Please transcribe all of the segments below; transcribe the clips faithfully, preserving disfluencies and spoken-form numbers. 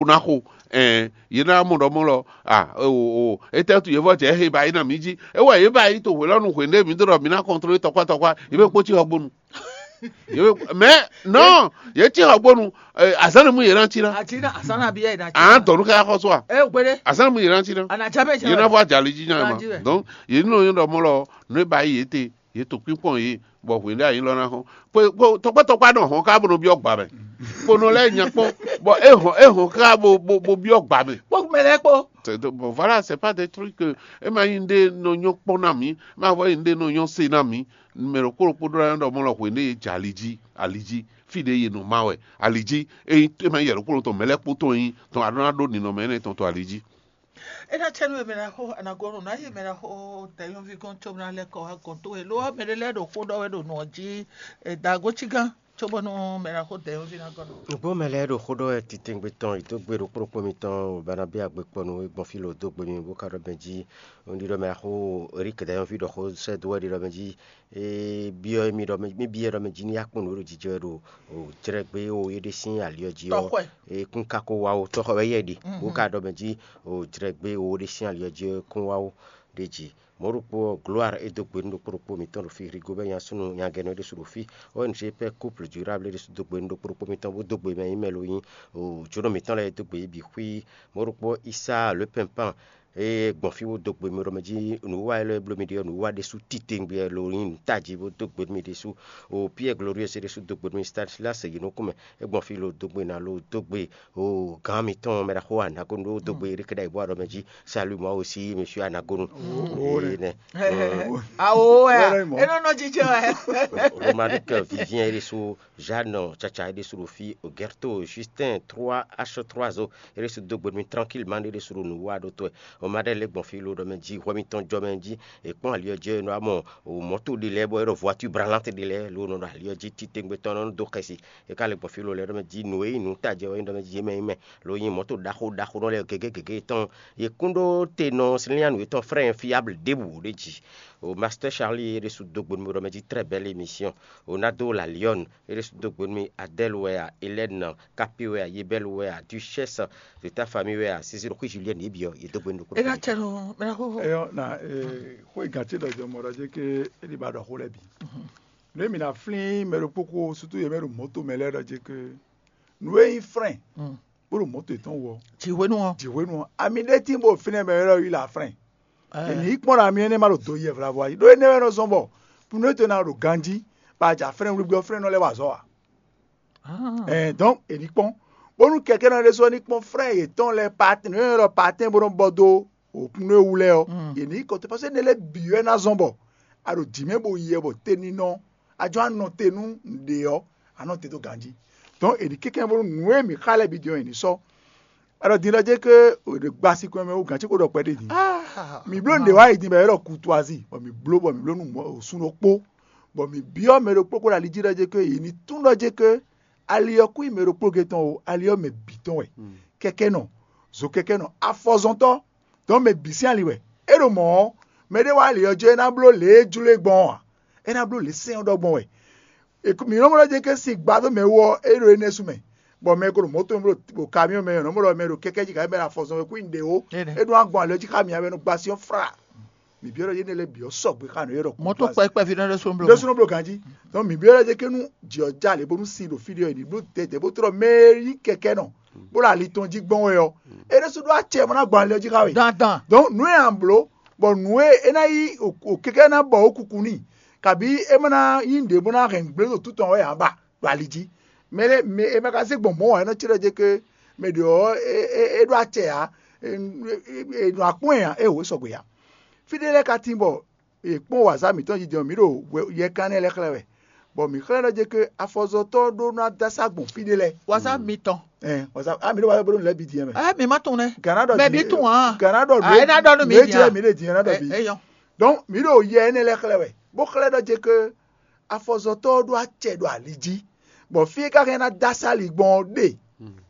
ná xo. Ɛn yě ná mɔ ɖɔ mɔ lɔ a o o etɛ́ tu yě vɔ jɛ he ba yi na mǐ jí. É wɛ yě ba yi to hwě lɔ nu hwě ɖé mǐ ɖɔ mǐ ná kɔntrolé tɔkpá tɔkpá yě bɛ kpó cí xɔgbónu. Yě bɛ mɛ nɔ yě cí xɔgbónu. Azán ni mú yě ná cí ná. Àti náà àsán náà bí ẹ̀ náà. À ń tọ̀ ní ká xɔ sɔ a. Ẹ ò gbére. Azán ni mú yě ná cí ná. Ànàjá bẹ́ẹ̀ jẹ́. Yé ná fọ́ àjàlí jí náà ma. Donc yě nínú yín ɖɔ mɔ lɔ nú é ba yi yě te yě to kpínkpɔn yě bɔ hwě ɖé anyí lɔ ná xɔn. Tɔkpɔ́tɔkpɔ nɔ hɔn ká bó nɔ byɔ́ gbǎ mɛ. Kponɔ lɛ́ɛ nya kpɔ́n bɔ é hɔn é hɔn ká bó bó bó byɔ́ gbǎ mɛ. Kpɔ́ mɛ lɛ́ɛ kpɔ́. Bon, voilà, c'est pas des trucs que é ma nyí ɖé nɔ nyɔ́ kpɔ́n ná mǐ, é ma vɔ nyí ɖé nɔ nyɔ́ se ná mǐ. Mɛ ɖokpó ɖokpó ɖó ná ɖɔ mɔ lɔ hwě ɖé yě jɛ ali jí ali jí fí ɖé yě nɔ má wɛ ali jí. É ma nyí yɛ ɖokpó tɔn mɛ lɛ́ɛ kpó tɔn nyí tɔn a ɖó ná ɖó ninɔmɛ énɛ́ tɔn to ali jí. É ná cɛ nú we mɛ ná xo anagɔ́nɔ ná yé mɛ ná xo dɛ̌nyɔ́ví gɔ́n có ná lɛ́ kɔ wá gɔ̌n towe lo ɔ́ mɛ ɖé lɛ́ɛ ɖo xó ɖɔ wɛ ɖo nǔ ɔ́ jí. Dǎgócígán cóbónú mɛ ná xo dɛ̌nyɔ́ví ná gɔ́ nɔ. Nǔgbó mɛ lɛ́ɛ ɖo xó ɖɔ wɛ titewungbe tɔn yi dó gbe ɖokpó ɖokpó mitɔn bana bí agbe kpɔnu e gbɔn fí lo dó gbe mi bó ka ɖɔ mɛ jí. Un ɖiɖɔ mɛ axó Erik dɛ̌nyɔ́ví ɖɔ xó sɛ́ dó wɛ ɖiɖɔ mɛ jí. E byɔ́ mì ɖɔ mì byɔ́ ɖɔ mɛ jí ní akpɔ́n nǔ e ɖo jijɛ wɛ ɖo jlɛ́gbé o é ɖé sín ali ɔ́ jí ɔ́. E kún ka ko wá o tɔ́xɔ wɛ yɛ ɖi bó ka ɖɔ mɛ jí o jlɛ́gbé o é ɖé sín ali ɔ́ jí ɔ́ kún wá o ɖ'é jí. Mɔ̌ ɖokpó ɔ́, Gloire é dó gbe nú ɖokpó ɖokpó mǐtɔn ɖo fí, Rigobɛ́ nyasúnɔ nyagɛ́nɔ é ɖésú ɖo fí, O N G Pɛ́ Kúpl Durable é ɖésú dó gbe nú ɖokpó ɖokpó mǐtɔn, bó dó gbe mɛ nyí mɛ lo nyí o jǒnɔ mǐtɔn lɛ́ɛ é dó gbe yě bǐ xwí. Mɔ̌ ɖokpó Isá Lǒpɛnpan e gbɔn fí bó dó gbe mi ɖɔ mɛ jí nǔwiwa élɔ́ e bló mi ɖe ɔ́, nǔwiwa ɖésú titewungbe wɛ lo nyí nǔ tají bó dó gbe nú mi ɖésú. O Pierre Glorieux é ɖésú dó gbe nú mi, Stanislas Yinúkúnmɛ é gbɔn fí lo dó gbe ná lo dó gbe o gǎn mitɔn mɛ ɖaxó Anagonu ɖó dó gbe Erik ɖ'ayǐ bó wá ɖɔ mɛ jí salut moi aussi monsieur Anagonu. Énɛ́. Awo wɛ a? É nɔ nɔ jijɛ wɛ. Romaric Vivien é ɖésú, Jeanne Chacha é ɖésú ɖo fí, Ogerto Justin trois H trois o é ɖésú dó gbe nú mi tranquillement ɖé ɖésú ɖo nǔ wa ɖó tɔ́ ɛ. O ma ɖe lě gbɔn fí lo ɖɔ mɛ jí hwɛ mitɔn jɔ mɛ jí è kpɔ́n ali ɔ́ jí è nɔ wá mɔ o mɔ̌to ɖé lɛ́ɛ bɔ é ɖɔ voiture branlante ɖé lɛ́ɛ lo nɔ ɖo ali ɔ́ jí titewungbe tɔn nɔ dó xɛsi. É ka lɛ gbɔn fí lo lɛ́ɛ ɖɔ mɛ jí nǔ e nyí nǔ tajɛ wɛ é ɖɔ mɛ jí yě mɛ nyí mɛ lo nyí mɔ̌to ɖaxó ɖaxó nɔ lɛ́ɛ gěgé gěgé tɔn. Yě kún ɖó te nɔ slínyánǔ yětɔn frɛ́ fiable ɖěbǔ ɖé jí. O Master Charlie é ɖésú dó gbe nú mi ɖɔ mɛ jí très belle émission. O Nado la Lyon é ɖésú dó gbe nú mi, Adèle wɛ a, Hélène Capé wɛ a, Yebel wɛ a, Duchesse de ta famille wɛ a, Cécile xwé Julienne yě bǐ ɔ́ yě dó gbe nú ɖokpó. É ná cɛ nɔ mɛ ná xóxó. Eyɔ na xó e gǎn ce ɖɔ jɔ mɔ ɖɔ jɛ ke é ɖi ba ɖɔ xó lɛ́ɛ bǐ. Nú e mǐ ná flín mɛ ɖokpó ko sútú yě mɛ ɖo mɔ̌to mɛ lɛ́ɛ ɖɔ jɛ ke nǔ e nyí frɛn bó ɖo mɔ̌to yětɔn wú ɔ́, Jǐhwenu ɔ́. Jǐhwenu ɔ́, ami ɖé tín bó fínɛ́ mɛ élɔ́ yí la frɛn. È ní yí kpɔ́n ɖo ami énɛ́ ma ɖo do yɛ vlavo jí ɖó énɛ́ wɛ nɔ zɔ́n bɔ nú é to ná ɖo ganjí, bɔ a ja frɛn wlígbí ɔ́ frɛn nɔ lɛ́ wa azɔ̌ ǎ. Ɛɛ dɔn è ní kpɔ́n bónú kɛkɛ́nɔ ɖé sɔ́ ní kpɔ́n frɛ́ yětɔn lɛ́ɛ patɛn nǔ e ɖɔ patɛn bó nɔ́ bɔ dó òkun nú é wú lɛ́ɛ ɔ́, è ní kɔ te paseke énɛ́ lɛ́ɛ bǐ wɛ ná zɔ́n bɔ a ɖo jǐ mɛ bo yɛ bɔ teninɔ a jɔ anɔ te nú nǔɖé ɔ́, a nɔ te dó ganjí. Dɔn è ní kɛkɛ́n bónú nǔ e mǐ xa lɛ́ɛ bǐ din ɔ́, è ní sɔ́. A ɖɔ din ɖɔ jɛ ke è ɖe gba sinkɔn mɛ wú gǎn ce kó ɖɔ kpɛɖé din. Mǐ bló nǔɖé wá yi din bɔ è ɖɔ kutuazi bɔ mǐ bló bɔ mǐ bló nú sun ɖokpó bɔ mǐ byɔ́ mɛ ɖokpó kó ɖo ali jí ɖɔ jɛ ke yě ní tún ɖɔ jɛ ke ali ɔ́ kún nyí mɛ ɖokpó ge tɔn o, ali ɔ́ mɛ bǐ tɔn wɛ. Kɛkɛ́nɔ, zo kɛkɛ́nɔ, afɔzɔntɔ́, dɔn mɛ bǐ sín ali wɛ. É ɖo mɔ̌ ɔ́, mɛɖé wá ali ɔ́ jɔ é ná bló lě e jló e gbɔn ɔ́ ǎ. É ná bló lě sɛn ɔ́ ɖɔ gbɔn wɛ. Mǐ nɔ́ mɔ ɖɔ jɛ ke sin gba dó mɛ wú ɔ́, é ɖo énɛ́ su mɛ, bɔ mɛ e ko ɖo mɔ̌to mɛ bó ɖo kamiɔ́ mɛ ɔ́, nɔ́ mɔ ɖɔ mɛ ɖo kɛkɛ́ jí kayi mɛ ɖo afɔzɔn wɛ kú nyi ɖě ó. É ɖo agbɔn ali ɔ́ jí xá mǐ wɛ nɔ gba syɔ́ fra. Mǐ byɔ́ ɖɔ yénɛ́ lɛ́ɛ bǐ ɔ́ sɔgbe xá nǔ e ɖɔ mɔ̌to kpɛkpɛ fi nɛ́ ɖésú bló ɖésú nɔ bló ganjí. Donc mǐ byɔ́ ɖɔ jɛ ke nú jǐ ɔ́ já lě bónú sin ɖo fí ɖé ɔ́, è ní bló dɛ̌dɛ̌ bó tlɔ́ mɛ e nyí kɛkɛ́ nɔ bó ɖo ali tɔn jí gbɔn wɛ ɔ́, é ɖésú ɖó acɛ bó ná gbɔn ali ɔ́ jí xá we. Dandan. Donc nǔ e a blǒ bɔ nǔ e é ná yí o kɛkɛ́ ná bɔ ó kuku n'i, kabǐ é má ná nyí nǔɖé bó ná hɛn gblé ɖo tǔtɔn ɔ́ wɛ ǎ ba ɖo ali jí. Mɛ lɛ́ɛ mɛ è ma ka zé gbɔn mɔ̌ ǎ, é nɔ cíɖɔ jɛ ke mɛ ɖě ɔ́ é ɖó acɛ ǎ, è nɔ akpɔ́n ɛ ǎ, é wǒ sɔgbe ǎ. Fí ɖé lɛ́ɛ ka tín bɔ è kpɔ́n wǎzá mǐtɔn jijɛ mǐ ɖo yɛkán nɛ́ lɛ́ɛ xlɛ́ wɛ, bɔ mǐ xlɛ́ ɖɔ jɛ ke afɔzɔtɔ́ ɖó ná dó asá gbɔn fí ɖé lɛ́ɛ. Wǎzá mitɔn. Ɛ wǎzá a mǐ ɖo wǎzá bó ɖo lɛ́ bǐ din mɛ. Ɛ mi ma tunwun nɛ. Gǎnà ɖɔ mɛ bǐ tunwun hàn. Gǎnà ɖɔ a é ná ɖɔ nú mi din. Mǐ ɖe din ná ɖɔ bǐ. Eyɔn. Donc mǐ ɖo yɛ énɛ́ lɛ́ɛ xlɛ́ wɛ, bó xlɛ́ ɖɔ jɛ ke afɔzɔtɔ́ ɖó acɛ ɖo ali jí, bɔ fí e ka hɛn ná dó asá ali gbɔn ɔ́ ɖe,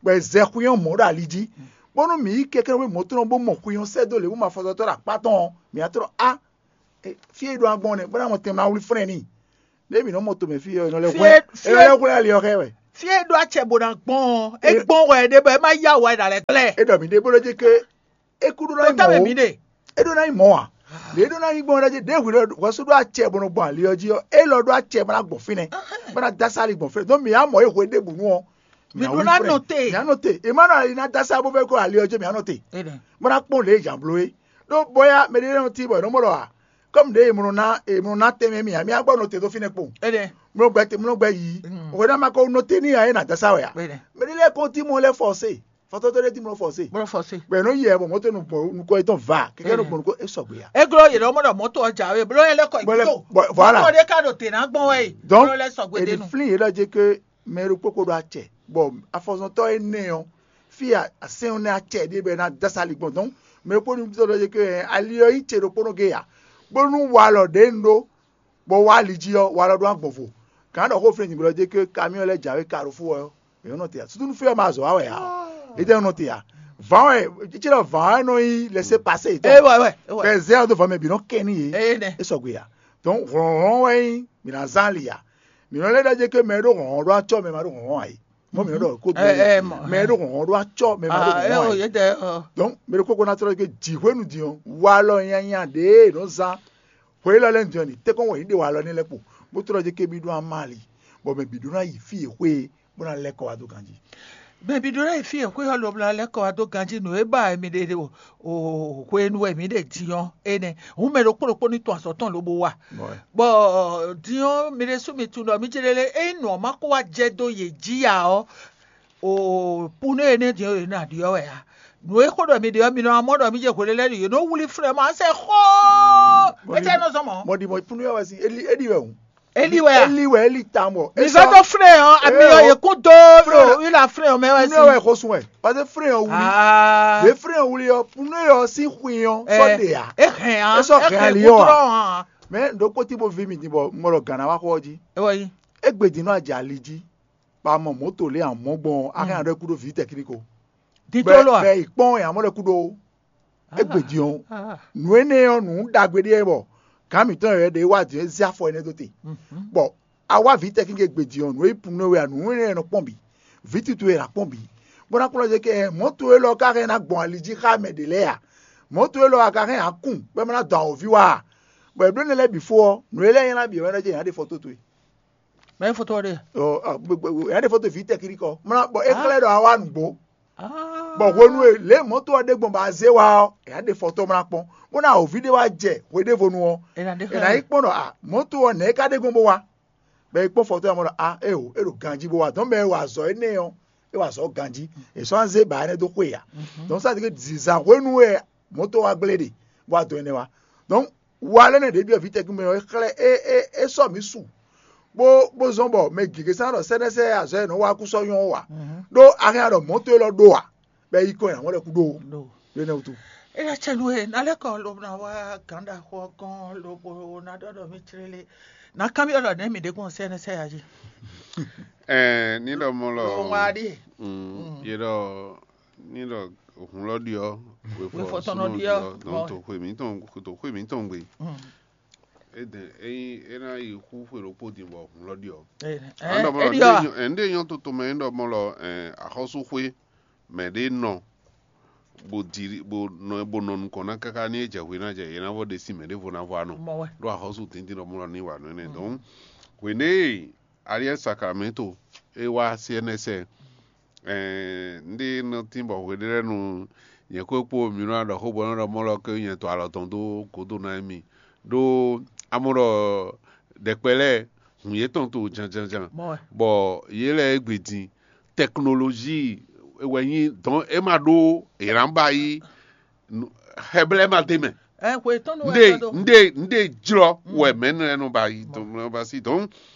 bɔ è zɛ xwínyɔ́ mɔ̌ ɖo ali jí, bónú mǐ yi kɛkɛ́nɔ bó mɔ̌ tɔn bó mɔ xwínyɔ́ sɛ́ dó lě bó mɔ afɔzɔtɔ́ ɖo akpá tɔn ɔ́, mǐ ná tlɔ́ á fí e ɖo agbɔn nɛ́ bó ná mɔ tɛn ma wlí flɛ́n n'i. Ɖé mǐ nɔ mɔ tomɛ fí ɔ́, è nɔ lɛ́ Fí hwlɛ́n é- fí é- è nɔ lɛ́ hwlɛ́n ali ɔ́ xá ɛ wɛ. Fí e ɖó acɛ bó ná gbɔn ɔ́, é gbɔn wɛ ɖé bɔ é má yá wɛ ɖa lɛ́ glɛ́. É ɖɔ mǐ ɖe bó ɖó jí ké é kú ɖó ná nyí mɔ̌ ó. Mǐ ɖe. É ɖó ná nyí mɔ̌ ǎ. Lě é ɖó ná nyí gbɔn ɔ́, ɖɔ jí ɖěhwǐ ɖɔ hwɛ̌sú ɖó acɛ bó nɔ gbɔn ali ɔ́ jí ɔ́, é lɔ ɖó acɛ bó ná gbɔn fínɛ́, bó ná dó asá ali gbɔn fínɛ́. Dɔn mǐ á mɔ é hwedébǔnu ɔ́, mǐ á wlí nɔ te. Mǐ á nɔ te. È má nɔ ali ná dó asá bó vɛ́ kó ali ɔ́ jí, mǐ á nɔ te. Bó ná kpɔ́n lě e è jǎn bló é. Ɖó bɔ́yá mɛɖé nɔ tín bɔ è nɔ mɔ ɖɔ ǎ, kɔ́mu ɖě è mlɔ ná è mlɔ ná tɛnmɛ mì ǎ, mì á gbɔ nɔ te dó fínɛ́ kpowun. Mlɔgbɛ te mlɔgbɛ yi. Hwɛ ná ma ko nɔ te n'i ǎ, é nǎ dó asá wɛ ǎ. Mɛɖé lɛ́ɛ kɔn tín mɔ lɛ́ɛ fɔsé. Fɔtɔ́tɔ́ ɖé tín mɔ fɔsé. Bó fɔ se. Bɛ nú yɛ bɔ mɔtɔ nu bɔ nukɔ yetɔn va kɛkɛ nu bɔ nukɔ e sɔgbe ya. E glɔ yě ɖɔ mɔ ɖɔ mɔtɔ ɔ jǎwe bló yɛ lɛ kɔ Bɔ lɛ- ìgbésò. Bɔ- voilà. Mɔtɔ ɖé ká ɖo tè ná gbɔn wɛ yi. Donc, Bló lɛ sɔgbe èdè dénú. Flin yě lɔ dzi ke mɛ ɖokpó ko ɖo acɛ bɔ afɔzɔntɔ énɛ́ ɔ fí asɛn nɛ acɛ ɖé bɛ ná dásali gbɔn. Donc mɛ ɖokpó nu tɔ ɖɔ dzi ke ali ɔ yi ce ɖokpó nɔ ge ya bónú walɔ ɖě nu ɖó bɔ wá ali jí ɔ́, walɔ ɖó agbɔn vo. Gǎn ɖɔ xó flin nyǐgblɔ dé ké kamiɔ́ lɛ́ɛ jǎwe Carrefour ɔ́, è nɔ te ǎ. Susu nú fí ɔ́ ma azɔ̌ wa wɛ ǎ. È tɛ nɔ te ǎ. Vǎn wɛ, cící ɖɔ vǎn wɛ nɔ nyí lɛsɛ pasé yětɔn. Eye wɛ wɛ wɛ. Bɛ zɛ ɔ́ dó vǎn mɛ bǐ nɔ kɛ n'i yě. Eye nɛ. É sɔgbe ǎ. Donc hlɔ̌nhlɔ́n wɛ nyí mǐ ná zán ali ǎ. Mǐ nɔ lɛ́ ɖɔ jɛ ké mɛ e ɖó hlɔ̌nhlɔ́n ɖó acɔ́ mɛ ma ɖó hlɔ̌nhlɔ́n ǎ é. Mɔ mǐ nɔ ɖɔ kó Ɛ ɛ mɔ. Mɛ e ɖó hlɔ̌nhlɔ́n ɖó acɔ́ mɛ ma ɖó Ah, hlɔ̌nhlɔ́n ɛ ǎ o é. Yɛ dɛ ɔ. Donc mɛ ɖokpó ko ná tlɔ́ ké jǐ hwenu din ɔ́, walɔ nyanya ɖě e è nɔ zán hwe élɔ́ lɛ́ɛ din ɔ́, ní tɛ́nkɔ́n wɛ yě ɖe walɔ nɛ́ lɛ́ɛ kpo, bó tlɔ́ jɛ ké bí ɖó amali, bɔ mɛ bǐ ɖó ná yi fí e xwé e, bó ná lɛ́ kɔ wá dó ganjí. Mɛ bǐ ɖó ná yi fí e xwé ɔ́ lobla lɛ́ kɔ wá dó ganjí nǔ e ba mi ɖe o o hwenu wɛ mǐ ɖe din ɔ́ énɛ́. Hǔn mɛ ɖokpó ɖokpó ní tun azɔ̌ tɔn lobo wa. Bɔ din ɔ́ mi ɖésú mi tunwun ɖɔ mí ce lélé ényí nǔ ɔ́ ma ko wá jɛ dó yě jí ǎ ɔ́, o punu énɛ́ din ɔ́ yě ná ɖyɔ́ wɛ ǎ. Nǔ e xó ɖɔ mi ɖe ɔ́, mi nɔ wá mɔ ɖɔ mí jɛ hwelélɛ́ ɖi yě nɔ wlí flɛ́ ma sɛ xó. Étɛ́ nɔ zɔn mɔ̌? Mɔ ɖi mɔ punu yɛ wɛ sin eli eli wɛ o. Eli wɛ a? Eli wɛ eli ta mɔ. Mi vɛ dó flɛ́ ɔ́, ami ɔ́ yě kún dó ila flɛ́ ɔ́ mɛ wɛ sin. Punu wɛ xɔsun wɛ, parce que flɛ́ ɔ́ wuli. Ɖe flɛ́ ɔ́ wuli ɔ́, punu yɛ ɔ́ sín xwin ɔ́ sɔ ɖe a. É hɛn a. É sɔ hɛn ali ɔ́ a. Mɛ ɖokpó tí bo vi mi din bɔ mɔ ɖɔ gǎn ná wá xɔ ɔ́ jí. É wɛ yí. Égbé din nɔ ajɛ ali jí. Ba mɔ mɔ̌to lě amɔ̌ gbɔn ɔ́, a hɛn aɖɔ kú ɖó vǐ tɛkíníko. Dídó lɔ a? Bɛ yi kpɔ́n yě amɔ́ lɛ́ kú ɖó. Égbé din ɔ́, nǔ énɛ́ ɔ́ nǔ ɖagbe ɖé wɛ bɔ gǎn mǐtɔn yɛ ɖě wá din é zé afɔ énɛ́ dó te. Bɔ a wá vǐ tɛkíníko égbé din ɔ́, nǔ e yi punu wɛ a nǔ énɛ́ nɔ kpɔ́n bǐ. Vǐ tutu e nǎ kpɔ́n bǐ. Bó ná kplɔ́n jɛ kɛ mɔ̌to élɔ́ ka hɛn ná gbɔn ali jí xá mɛ ɖě lɛ́ɛ a? Mɔ̌to élɔ́ a ka hɛn akún bɔ é má ná dɔn awǒvi wá a? Bɔ è bló énɛ́ lɛ́ɛ bǐ fó ɔ́, nǔ e lɛ́ɛ nylá bǐ wɛ ná jɛ nya ɖe fɔ tó towe. Mɛ fɔtɔ ɖe. Ɔ, ɔ, gbogbo- ɛ ɖe fɔto vi tɛkiri kɔ. Mlá bɔ é xlɛ́ ɖɔ awa nǔgbó. Bɔ hwenu e lě mɔ̌to ɔ́ ɖe gbɔn bɔ azé wa ɔ́, è nǎ ɖe fɔtɔ mlá kpɔ́n, bó ná wǒvi ɖé wá jɛ hweɖévonu ɔ́, è nǎ yi kpɔ́n ɖɔ a mɔ̌to ɔ́ nɛ̌ é ka ɖe gbɔn bó wá? Bɔ é kpɔ́n fɔtɔ ɔ́ mɔ ɖɔ a éeǒ, é ɖo ganjí bó wá. Dɔ̌n mɛ e wa azɔ̌ énɛ́ ɔ́, é wa azɔ̌ ganjí. È sɔ́ ná zé bǎ énɛ́ dó xwe ǎ. Dɔ̌n sá ti ké zizan hwenu e mɔ̌to wá gblé ɖe, bó wá dɔn énɛ́ wá. Dɔ̌n wa lɛ́ nɛ́ ɖě byɔ́ vǐ tɛkún mɛ ɔ́, é xlɛ́ é é é sɔ́ mǐ su, bó bó zɔ́n bɔ mɛ gěgé sán ɖɔ sɛ́nɛ́sɛ́ azɔ̌ e nɔ wa kú sɔ́ nyɔ́ wá. Ɖó a hɛn ɖɔ mɔ̌ towe lɔ ɖó a, bɔ é yi kɔ nyi amɔ̌ lɛ́ kú ɖó. Ɖó énɛ́ wútu. Éyɛ́ cɛ nú e ná lɛ́ kɔ lobo ná wá gǎn ɖaxó ɔ́ gɔ́n lobo ná ɖɔ ɖɔ mí clélé. Ná kanbyɔ́ ɖɔ nɛ̌ mǐ ɖe gbɔn sɛ́nɛ́sɛ́ a jí? Ɛɛ ní ɖɔ mɔ lɔ Lɔ wá ɖíe. Mm, yé ɖɔ ní ɖɔ hǔn lɔ ɖiɔ Wefɔ tɔn nɔ ɖiɔ. Donc to xwe mǐtɔn to xwe mǐtɔn gbe. Eden eyi é ná yi xú xwe ɖokpó din bɔ hǔn lɔ ɖiɔ. Ɛn ɖɔ mɔ lɔ Eɖiɔ. Ɛn ɖe nyɔ toto mɛ ɖɔ mɔ lɔ ɛn axɔ́súxwé mɛ ɖé nɔ bó di bó nɔ bó nɔ nukɔn ná káká ní é jɛ hwe ná jɛ yě ná vɔ ɖe sí mɛ ɖěvo ná vɔ anɔ. Mɔ wɛ. Ɖó axɔ́sú tíntín ɖɔ mɔ lɔ ní wa nɔ énɛ́. Donc hwenɛ́ e Ariel Sacramento é wá C N S ɛn. Ɛɛ, un ɖe nɔ tín bɔ hweɖélɛ́nu nyɛ kó kpó mi nɔ ɖɔ xó bɔ nɔ ɖɔ mɔ lɔ ké nyɛ to alɔ tɔn dó gǒdo ná émí. Ɖó amɔ ɖɔ ɖɛkpɛ lɛ́ɛ hun yětɔn to janjanjan. Bɔ yě lɛ́ɛ égbé din tɛknolozi wɛ nyí dɔn é ma ɖó è nǎ ba yí xɛblɛ́ ma d'é mɛ. Ɛ xwe tɔn nu wɛ Nde tɔn do. Nde nde jlɔ wɛ mɛ nɔ nɔ ba yi tɔn nɔ ba si tɔn.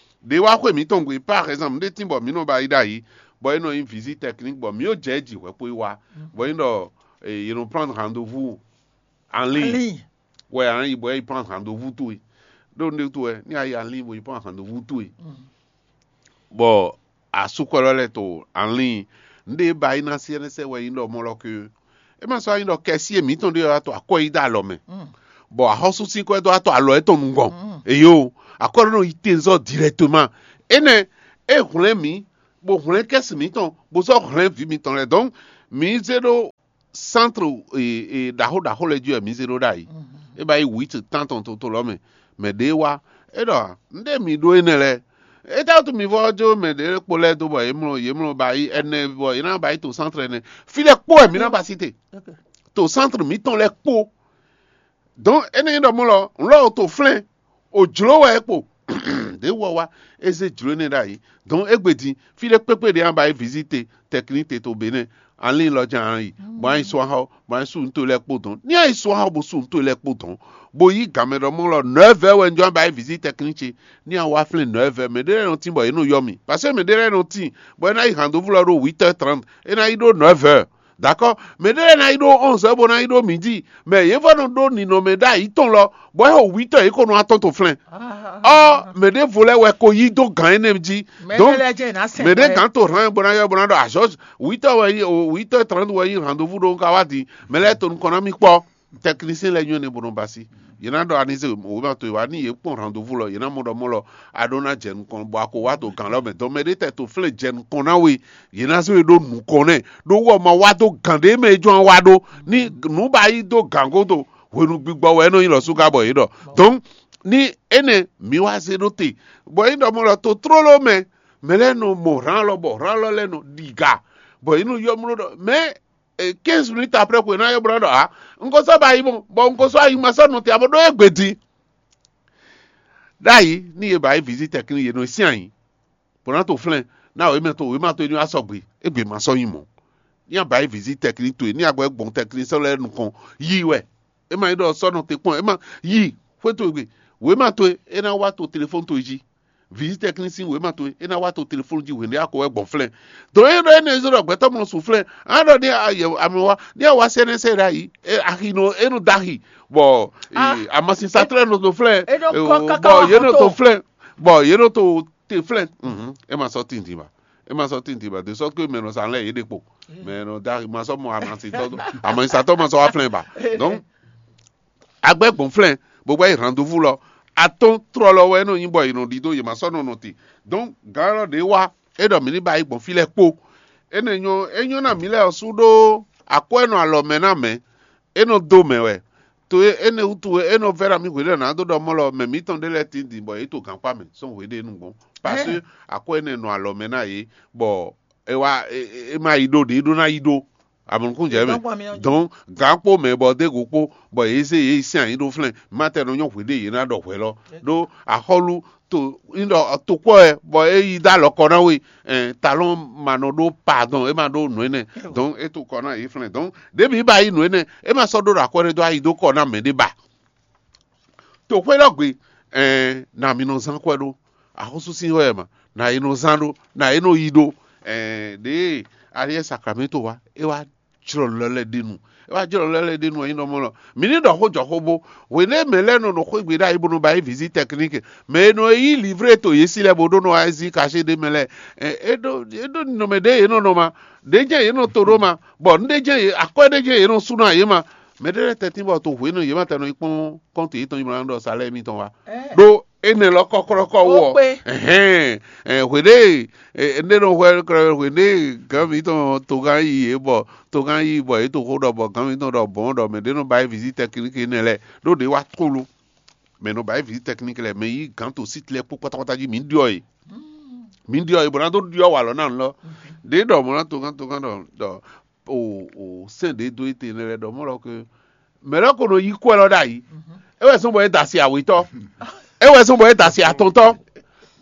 Ɖe wá xwe mǐtɔn gbe par exemple nde tín bɔ mǐ nɔ ba yi ɖ'ayǐ bɔ é nɔ nyí visite technique bɔ mǐ yó jɛ ji hwɛ kpo yi wá bɔ é nɔ yě nɔ prendre rendez-vous en ligne. Wɛ a nɔ yi bɔ é yi prendre rendez-vous towe ɖo nde to wɛ ní a yi en ligne bɔ yi prendre rendez-vous towe. Bɔ asúkɔlɔ lɛ to anlin nɖe ba yi na siɛnɛsɛ wɛ yi ɖɔ mɔ lɔ ke é ma sɔ yi ɖɔ kɛsi e mǐtɔn ɖe wá to akɔ yi ɖo alɔ mɛ bɔ axɔ́súsínkɔ e dó wá to alɔ etɔn nukɔn eyo akɔ ɖo nɔ yi tenzɔ directement. Enɛ e hwlɛn mǐ bó hwlɛ́n kɛ́si mǐtɔn, bó sɔ́ hwlɛ́n vǐ mitɔn lɛ́ɛ. Donc mǐ zé ɖó centre ɖaxó ɖaxó lɛ́ɛ jí wɛ mǐ zé ɖó ɖ'ayǐ. É ba yi huit tán tɔn toto lɔ mɛ, mɛ ɖě wá, é ɖɔ: "Nɖé mǐ ɖó énɛ́ lɛ́ɛ? Étɛ́wútu mi vɔ́ jó mɛ ɖě kpo lɛ́ɛ dó bɔ yě mlɔ yě mlɔ ba yi ɛnɛ bɔ yě ná ba yi to centre ɛnɛ? Fí lɛ́ɛ kpó wɛ mǐ ná ba sí te, to centre mǐtɔn lɛ́ɛ kpó." Donc énɛ́ nyí ɖɔ mɔ̌ lɔ, un lɔ to flɛ́n, o jlǒ wɛ é kpo. Ɖě wɔ wá, é zé jlǒ énɛ́ ɖ'ayǐ. Donc égbé din, fí ɖé kpékpé ɖě a ba yi visite tɛkníte to Benɛ́, alín lɔ jɛ́n a yi, bɔ a yi sú axɔ, bɔ a yi sú nǔ towe lɛ́ɛ kpó dɔn. Ní a yi sú axɔ bó sú nǔ towe lɛ́ɛ kpó dɔn, bó yí gǎn mɛ ɖɔ mɔ̌ lɔ, nɔ̌vɛ́ wɛ un jɔ a ba yi visite tɛkní ce. Ní a wá flɛ́n nɔ̌vɛ́, mɛ ɖé lɛ́ɛ nɔ tín bɔ yě nɔ yɔ mì, parce que mɛ ɖé lɛ́ɛ nɔ tín bɔ é ná yi hǎndóvú lɔ ɖó huit heures trente, é ná yi ɖó nɔ̌vɛ́. D'accord? Mɛ ɖé lɛ́ɛ ná yi ɖó onze heures bó ná yi ɖó midi, mɛ yě vɔ nɔ ɖó ninɔmɛ ɖ'ayǐ tɔn lɔ, bɔ é xo huit heures yě ko nɔ atɔ́n to flɛ́n. Ɔ, mɛ ɖěvo lɛ́ɛ wɛ ko yí dó gǎn énɛ́ jí. Donc mɛ ɖé gǎn to hlan bó ná yɔ bó ná ɖɔ azɔ́, huit heures wɛ yí, huit heures trente wɛ yí rendez-vous ɖó un ka wá din, mɛ lɛ́ɛ to nukɔn ná mì kpɔ́. Technicien lɛ́ɛ nyɔ́ nɛ́ bó nɔ ba sí. Yě ná ɖɔ anísé wěma towe wá ní yě kpɔn rendez-vous lɔ, yě ná mɔ ɖɔ mɔ lɔ a ɖó ná jɛ nukɔn bɔ a ko wá to gǎn lɔ mɛ. Donc mɛ ɖé tɛ to flɛ́n jɛ nukɔn ná we, yě ná zé we ɖó nukɔn nɛ́, ɖó wú ɔ́ ma wá dó gǎn ɖé mɛ e jɔ́n wá ɖó. Ní nǔ ba yí dó gǎn gúdo, hwenu gbigbɔ wɛ é nɔ nyí lɔ̌súgá bɔ yě ɖɔ. Donc ní énɛ́ mǐ wá zé ɖó te, bɔ é ɖɔ mɔ lɔ to tlóló mɛ, mɛ lɛ́ɛ nɔ mɔ hǎn lɔ bɔ hǎn lɔ lɛ́ɛ nɔ ɖiga, bɔ yě nɔ yɔ mló ɖɔ mɛ quinze minutes après ko è nǎ yɔ bó ná ɖɔ ǎ, un ko sɔ́ ba yi mɔ, bɔ un ko sɔ́ ayi ma sɔ́ nɔ te abo ɖó égbé din. Ɖ'ayǐ ní yě ba yi visite tɛkní yě nɔ syɛ́n ayǐ, bó ná to flɛ́n ná wěma to wěma to ní wá sɔgbe, égbé ma sɔ́ nyí mɔ̌. Ní a ba yi visite tɛkní towe, ní a gbɔ gbɔn tɛkní sɔ́ lɛ́ɛ nukɔn yí wɛ. É ma nyí ɖɔ sɔ́ nɔ te kpɔ́n, é ma yí xwé towe gbe, wěma towe é ná wá to telefɔ́n towe jí. Visite tɛkní sín wěma towe é ná wá to telefɔ́n jí hwěɖé a ko wɛ gbɔn flɛ́n. Dǒ é ɖɔ énɛ́ zé ɖɔ gbɛtɔ́ mɔ sun flɛ́n, a ɖɔ ní amɛ wá ní a wá sɛ́nɛ́ sɛ ɖ'ayǐ, axi nɔ é nɔ dó axi, bɔ amasinsatɔ́ lɛ́ɛ nɔ dó flɛ́n, bɔ yě nɔ to flɛ́n, bɔ yě nɔ to te flɛ́n. É ma sɔ́ tintin ba, é ma sɔ́ tintin ba, de sɔ́ ke mɛ nɔ sa lɛ́ yě ɖe kpo, mɛ nɔ dó axi ma sɔ́ mɔ amasinsatɔ́, amasinsatɔ́ ma sɔ́ wá flɛ́n ba. Donc agbɛ́ gbɔn flɛ́n, bó gbɛ́ yi rendez-vous lɔ, atɔ́n tlɔlɔ wɛ é nɔ nyí bɔ è nɔ ɖidó, yě ma sɔ́ nɔ nɔ te. Donc gǎn élɔ́ ɖě wá, é ɖɔ mǐ ní ba yi gbɔn fí lɛ́ɛ kpó. Énɛ́ nyɔ́ é nyɔ́ ná mǐ lɛ́ɛ ɔ́ sú ɖó akwɛ́ nɔ alɔ mɛ ná mɛ, é nɔ dó mɛ wɛ. To e énɛ́ wútu wɛ é nɔ vɛ́ ná mì hwǐɖɔ ná dó ɖɔ mɔ́ lɔ, mɛ mǐtɔn ɖé lɛ́ɛ tín din bɔ yě to gǎnkpá mɛ sɔ́ hweɖénu gbɔn, parce que akwɛ́ énɛ́ nɔ alɔ mɛ ná yě, bɔ é wá é má yi ɖó ɖě é ɖó ná yi ɖó. Amɔnukúnjɛ mɛ. Donc gǎn kpó mɛ bɔ dé go kpó, bɔ yě zé yě yi sín anyí ɖó flɛ́n, má tɛ nɔ nyɔ́ hweɖé yě ná ɖɔ hwɛ lɔ. Ɖó axɔ́lú to nyí ɖɔ tokpɔ́ wɛ bɔ é yi dó alɔ kɔ ná we, talɔn ma nɔ ɖó pardon, é ma ɖó nǔ énɛ́. Donc é to kɔ ná yě flɛ́n. Donc ɖěbǐ ba yí nǔ énɛ́, é ma sɔ́ ɖó ɖo akwɛ́ ɖé dó ayi dó kɔ ná mɛ ɖé ba. To xwé lɔ gbe, ɛɛ na mi nɔ zán kwɛ ɖó. Axɔ́sú sín wɛ ma, na e nɔ zán ɖó, na e nɔ yi ɖó. Ɛɛ ɖěe aliɛ sakramento wa, é wá jlɔ lɔ lɛ ɖe nu. É wá jlɔ lɔ lɛ ɖe nu, ɛyin nɔ mɔ lɔ. Mi ní ɖɔ xó jɔ xó bó. Hwěɖé mɛ lɛ́ɛ nɔ nɔ xwé gbe ɖ'ayǐ bó nɔ ba yí visite technique. Mɛ e nɔ yí livre to yě sí lɛ́ɛ bó ɖó nɔ wá zí cachet ɖé mɛ lɛ́ɛ. Ɛ, é ɖó é ɖó nɔmɛ ɖé yě nɔ nɔ ma. Ɖě jɛ́n yě nɔ to ɖó ma. Bɔ nǔɖé jɛ́n yě akwɛ́ ɖé jɛ́n yě nɔ sú ná yě ma. Mɛ ɖé lɛ́ɛ tɛ́ntin bɔ to hwenu yě ma tɛ́ nɔ yi kpɔ́n kɔ́ntu yětɔn yi mlɔ́ ná ɖɔ salɛ́ mitɔn wá. Ɖó énɛ́ lɔ kɔ́kɔ́lɔ́kɔ́ wú ɔ. Hɛn hweɖée, énɛ́ nɔ hwɛ hweɖée gǎn mitɔn togán yi yě bɔ togán yi bɔ yě to xó ɖɔ bɔ gǎn mitɔn ɖɔ bɔn ɖɔ mɛ ɖé nɔ ba yi visite technique énɛ́ lɛ́ɛ ɖó ɖě wá tlóló. Mɛ nɔ ba yi visite technique lɛ́ɛ mɛ yí gǎn to site lɛ́ɛ kpó kpátákpátá jí mǐ ɖyɔ yě. Mǐ ɖyɔ yě bɔ ná dó ɖyɔ wǎ lɔ ná nǔ lɔ. Ɖě ɖɔ mɔ ná togán togán ɖɔ ɖɔ o o sɛn ɖě dó éte nɛ lɛ ɖɔ mɔ lɔ ke mɛ lɔ ko nɔ yí kɔ lɔ ɖ'ayǐ. É wɛ zɔn bɔ é da asi awetɔ. É wɛ zɔn bɔ é da asi atɔntɔ.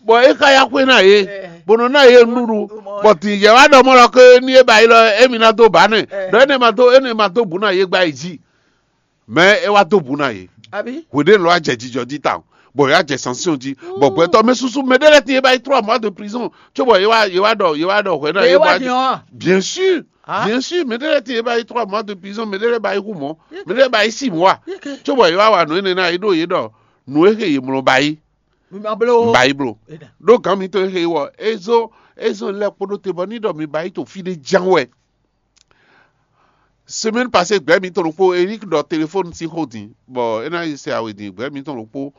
Bɔ é ka ya xwé ná yě bó nɔ ná yě nuɖuɖu. Bɔ tì yɛ wá ɖɔ mɔ lɔ ke ní é ba yi lɔ émi ná dó ba nɛ ɖɔ énɛ́ ma dó énɛ́ ma dó bǔ ná yě gba yi jí. Mɛ é wá dó bǔ ná yě. Hweɖé lɔ wá jɛ jijɔ jí tawun, bɔ yě wá jɛ sanction jí, bɔ gbɛtɔ́ mɛ susu mɛ ɖé lɛ́ɛ tín é ba yi trois mois de prison, cóbɔ yě wá yě wá ɖɔ yě wá ɖɔ hwɛ ná yě wá. Bien sûr. Bien sûr, mɛ ɖé lɛ́ɛ tín é ba yi trois mois de prison, mɛ ɖé lɛ́ɛ ba yi hu mɔ, mɛ ɖé lɛ́ɛ ba yi six mois, cóbɔ yě wá wa nǔ énɛ́ ná yě ɖo yě ɖɔ nǔ e xe yě mlɔ ba yi. Ba yi blo. Ɖó gǎn mitɔn e xe wɔ é zó é zó lɛ́ kpóɖó te bɔ ní ɖɔ mi ba yi to fí ɖé ján wɛ. Semaine passée gbɛ̌ mitɔn ɖokpó Eric ɖɔ téléphone sín xó din, bɔ é ná yi se awe din gbɛ̌ mitɔn ɖokpó.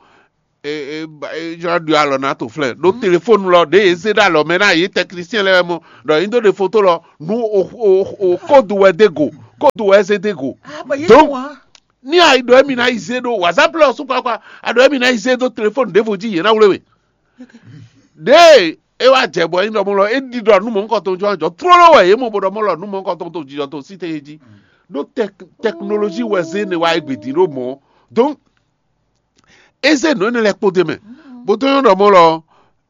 e e ba- e jɔ ɖu alɔ na to flɛ ɖo telefɔnu lɔ ɖe e zé ɖe alɔ mɛ na yé tɛknisiyɛn lɛ mɔ ɖɔ yín do ɖe foto lɔ nu o o o kódu wɛ dé go kódu wɛ zé dé go. Donc, ní a yi ɖɔ emi na yi zé ɖo whatsapp lɔ sukpakpa a ɖɔ emi na yi zé ɖo telefɔnu ɖěvo jí yé na wlé we ɖe e wa jɛ bɔ yín ɖɔmɔ lɔ e ɖi ɖɔ nu mɔ ŋkɔ tɔn jɔ jɔ trolo wɛ yé mɔ bo ɖɔmɔ lɔ nu mɔ ŋkɔ tɔn to jijɔ to si te yé jí ɖo tɛk tɛknolozi wɛ zé ne wa yi gbedin ɖo mɔ. Donc, eze nǔ énɛ́ lɛ́ɛ kpó d'é mɛ bó dó nyɔ́ ɖɔ mɔ̌ lɔ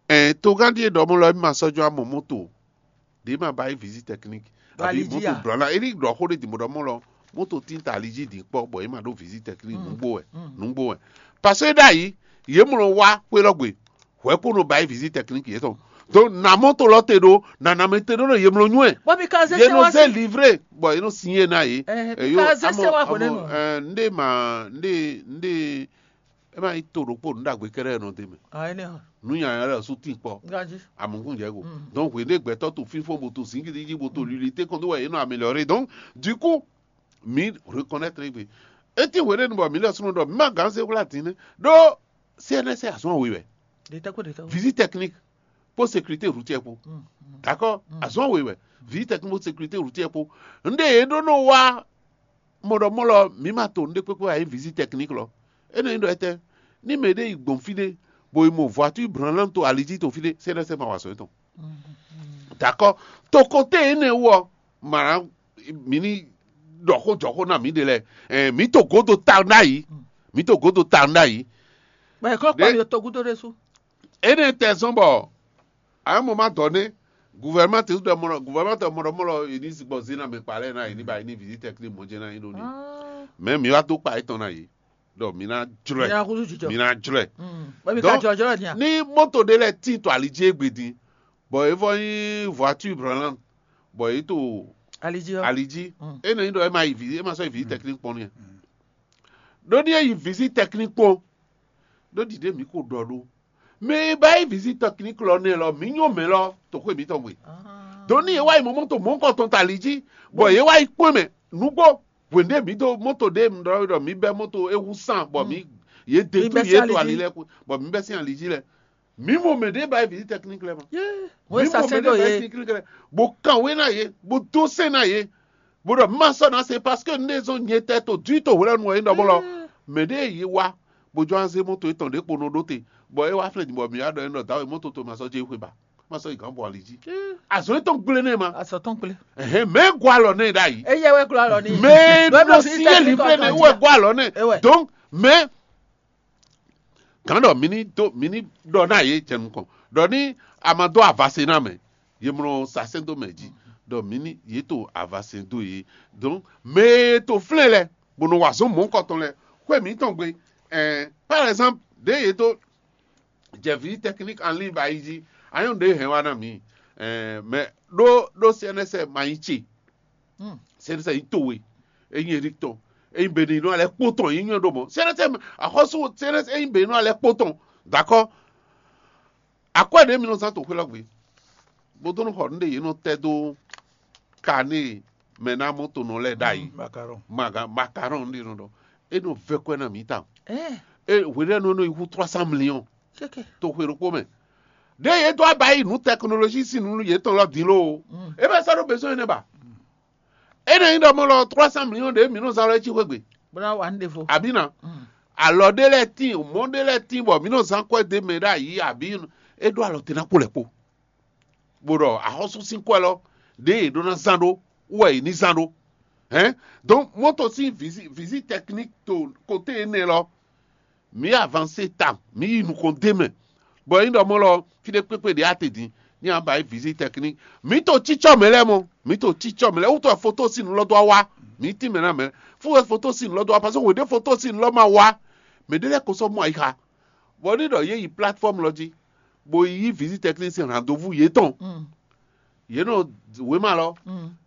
ɛ togán ɖíe ɖɔ mɔ̌ lɔ é ma sɔ́ jó amɔ moto ɖě ma ba yí visite technique àbí moto blɔ̌ ná é ní ɖɔ xó ɖé dǐn bó ɖɔ mɔ̌ lɔ moto tín ta ali jí dǐn kpɔ́ bɔ é ma ɖó visite technique nǔgbó wɛ nǔgbó wɛ. Parce que ɖ'ayǐ yě mlɔ wá xwé lɔ gbe hwɛ kó nɔ ba yí visite technique yětɔn. Donc na moto lɔ te ɖó na na mɛ te ɖó nɔ yě mlɔ nyú ɛ. Bɔ mi ka zé yě sɛ nɔ wá zé sí. Livre bɔ yě nɔ signé ná yě. Ɛhɛn, mi ka zé sɛ wá hwɛnɛnu. Ndé ma ndé ndé é ma nyí to ɖokpó nǔ ɖagbe kɛɖɛ nɔ d'é mɛ. Ah, anyhow. Nǔ nyanya lɛ sú tín kpɔ. Ganji. Amɔkún jɛ go. Donc hwě ɖé gbɛtɔ́ to fínfɔ́n bo to zǐngídi jí bo to lili tɛ́nkɔn dó wɛ yě nɔ améliorer. Donc du coup mi reconnaître gbe. Eti hwě ɖé nu bɔ mi lɛ súnmɔ ɖɔ mi ma gǎn zé hwlá dín nɛ́ ɖó C N S azɔn we wɛ. Ɖetɛ́kpó ɖetɛ́kpó. Visite technique kpó sécurité routière kpó. D'accord. Azɔn we wɛ. Visite technique kpó sécurité routière kpó. Nɖe yě ɖó nɔ wá mɔɖɔmɔlɔ mǐ ma to nɖé kpékpé ayé visite technique lɔ. Énɛ́ nyí ɖɔ étɛ́ ní mɛɖé yi gbɔn fí ɖé bo yi mɔ voiture branlant to ali jí to fí ɖé, C N S ma wa azɔn étɔn. D'accord. To côté énɛ́ wú ɔ́, mǎ mǐ ní ɖɔ xó jɔ xó ná mǐ ɖe lɛ́ɛ. Ɛɛ, mǐ to gǒdo tawun ɖ'ayǐ. Mǐ to gǒdo tawun ɖ'ayǐ. Bɔ è kɔ́ kpa mi to gúdo ɖésú. Énɛ́ tɛ zɔ́n bɔ ayɔ́mɔ ma dɔ nɛ́ guvɛrɛma te ɖɔ mɔ guvɛrɛma te mɔ ɖɔ mɔ lɔ yi ní zigbɔ zé na mɛ kpa lɛ na yi ní ba yi ní visite technique mɔ jɛ na yi ɖo ní. Mɛ mi wá dó kpa étɔn na yi ɖɔ mi ná jlɔɛ. Mi ná húzú jijɔ. Mi ná jlɔɛ. Bɔ mi ka Donc, jɔ jɔ nya. Ní moto ɖé lɛ tín to ali jí égbé dín bɔ é vɔ nyí voiture branlant bɔ é to Ali jí ɔ. Ali jí. Énɛ́ nyí ɖɔ é ma yi vi é ma sɔ́ yi visite technique kpɔ́n nú yɛ. Ɖó ní é yi visite technique kpɔ́n ɖó ɖiɖe mǐ ko ɖɔ ɖó mɛ e ba yi visite technique lɔ nɛ lɔ mǐ nyɔ mɛ lɔ toxo mǐtɔn gbe. Ɖó ní yě wá yi mɔ moto mɔ̌kɔtɔn ta ali jí bɔ yě wá yi kpɔ́n mɛ nǔgbó hwěɖé mǐ dó moto ɖé ɖɔ ɖɔ mǐ bɛ́ moto é hú sán bɔ mǐ yě dé tú yě to ali lɛ́ɛ bɔ mǐ bɛ́ sín ali jí lɛ́ɛ mǐ mɔ mɛ ɖé ba yi visite technique lɛ́ɛ ma. Mǐ mɔ mɛ ɖé ba yi visite technique lɛ́ɛ bó kan wé ná yě bó dó sɛn ná yě bó ɖɔ má sɔ́ ná se parce que un ɖe zɔn nyɛ tɛ to dui to hwlɛ́nu wɛ é ɖɔ bó lɔ mɛ ɖé yě wá bó jɔ azé moto étɔn ɖě kpo nɔ ɖó te bɔ é wá flɛ́ bɔ mǐ wá ɖɔ é ɖɔ dǎwe moto to ma sɔ́ jɛ xwe ba ma sɔ́ yi gǎn bɔ ali jí. Azɔn étɔn gblé nɛ ma. Azɔn tɔn gblé. Ɛhɛn mɛ gɔ alɔ nɛ ɖ'ayǐ. Eye wɛ gblɔ alɔ ni. Mɛ nɔ si yé livré nɛ wɛ gɔ alɔ nɛ. Donc mɛ gǎn ɖɔ mi ní dó mi ní ɖɔ ná yě jɛ nukɔn ɖɔ ní a ma dó avase ná mɛ yě mlɔ sasɛn dó mɛ jí ɖɔ mi ní yě to avase dó yě. Donc mɛ e to flɛ́n lɛ bó nɔ wa zɔn mɔ̌kɔtɔn lɛ xwé mǐtɔn gbe. Par exemple ɖě yě dó jɛ visite technique en ligne ba yi jí anyɔ́ ɖě hɛn wá ná mǐ. Mais ɖó ɖó C N S ma nyí ce. C N S nyí towe, é nyí Eric tɔn, é nyí Benino alɛ kpó tɔn, é nyí nyɔ́ ɖó mɔ̌. C N S axɔ́sú C N S é nyí Benino alɛ kpó tɔn. D'accord. Akwɛ́ ɖě mi nɔ zán to xwé lɔ gbe bó dó nɔ xɔ nǔɖé yě nɔ tɛ́ dó kané mɛ ná mɔ tonɔ lɛ́ɛ ɖ'ayǐ. Macaron macaron ɖé nɔ ɖɔ é nɔ vɛ́ kwɛ́ ná mǐ tawun. Hweɖénu nɔ yi hú trois cent millions to xwe ɖokpó mɛ. Ɖé yě dó aba yi nǔ tɛknolozi sín nǔ yětɔn lɔ din lóo. É bɛ sɔ́ ɖó bezɔn énɛ́ ba. É nɔ nyí ɖɔ mɔ lɔ trois cent millions ɖě mǐ nɔ zán lɔ é cí xwé gbe. Bó ná wa nú ɖěvo. Abǐ ná. Alɔ ɖé lɛ́ɛ tíin, mɔ̌ ɖé lɛ́ɛ tíin bɔ mǐ nɔ zán kwɛ́ dó mɛ ɖ'ayǐ abǐ é ɖó alɔ te ná kpo lɛ́ kpo. Bó ɖɔ axɔ́sú sín kwɛ́ lɔ ɖě yě ɖó ná zán ɖó wú wɛ yě ní zán ɖó. Hɛn donc moto sín visite technique to côté énɛ́ lɔ mǐ avancé ta mǐ yi nukɔn d'é mɛ. Bɔ é nyí ɖɔ mɔ̌ lɔ fí ɖé kpékpé ɖě a te din ní a ba yi visite technique mǐ to cícɔ mɛ lɛ́ɛ mɔ mǐ to cícɔ mɛ lɛ́ɛ wútu wɛ foto sín nǔ lɔ dó wá wá mǐ tín mɛ ná mɛ fún wɛ foto sín nǔ lɔ dó wá parce que wěɖé foto sín nǔ lɔ ma wá mɛ ɖé lɛ́ɛ ko sɔ́ mɔ ayixa. Bɔ ní ɖɔ yě yi plateforme lɔ jí bó yi yí visite technique sín rendez-vous yětɔn. Yě nɔ wěma lɔ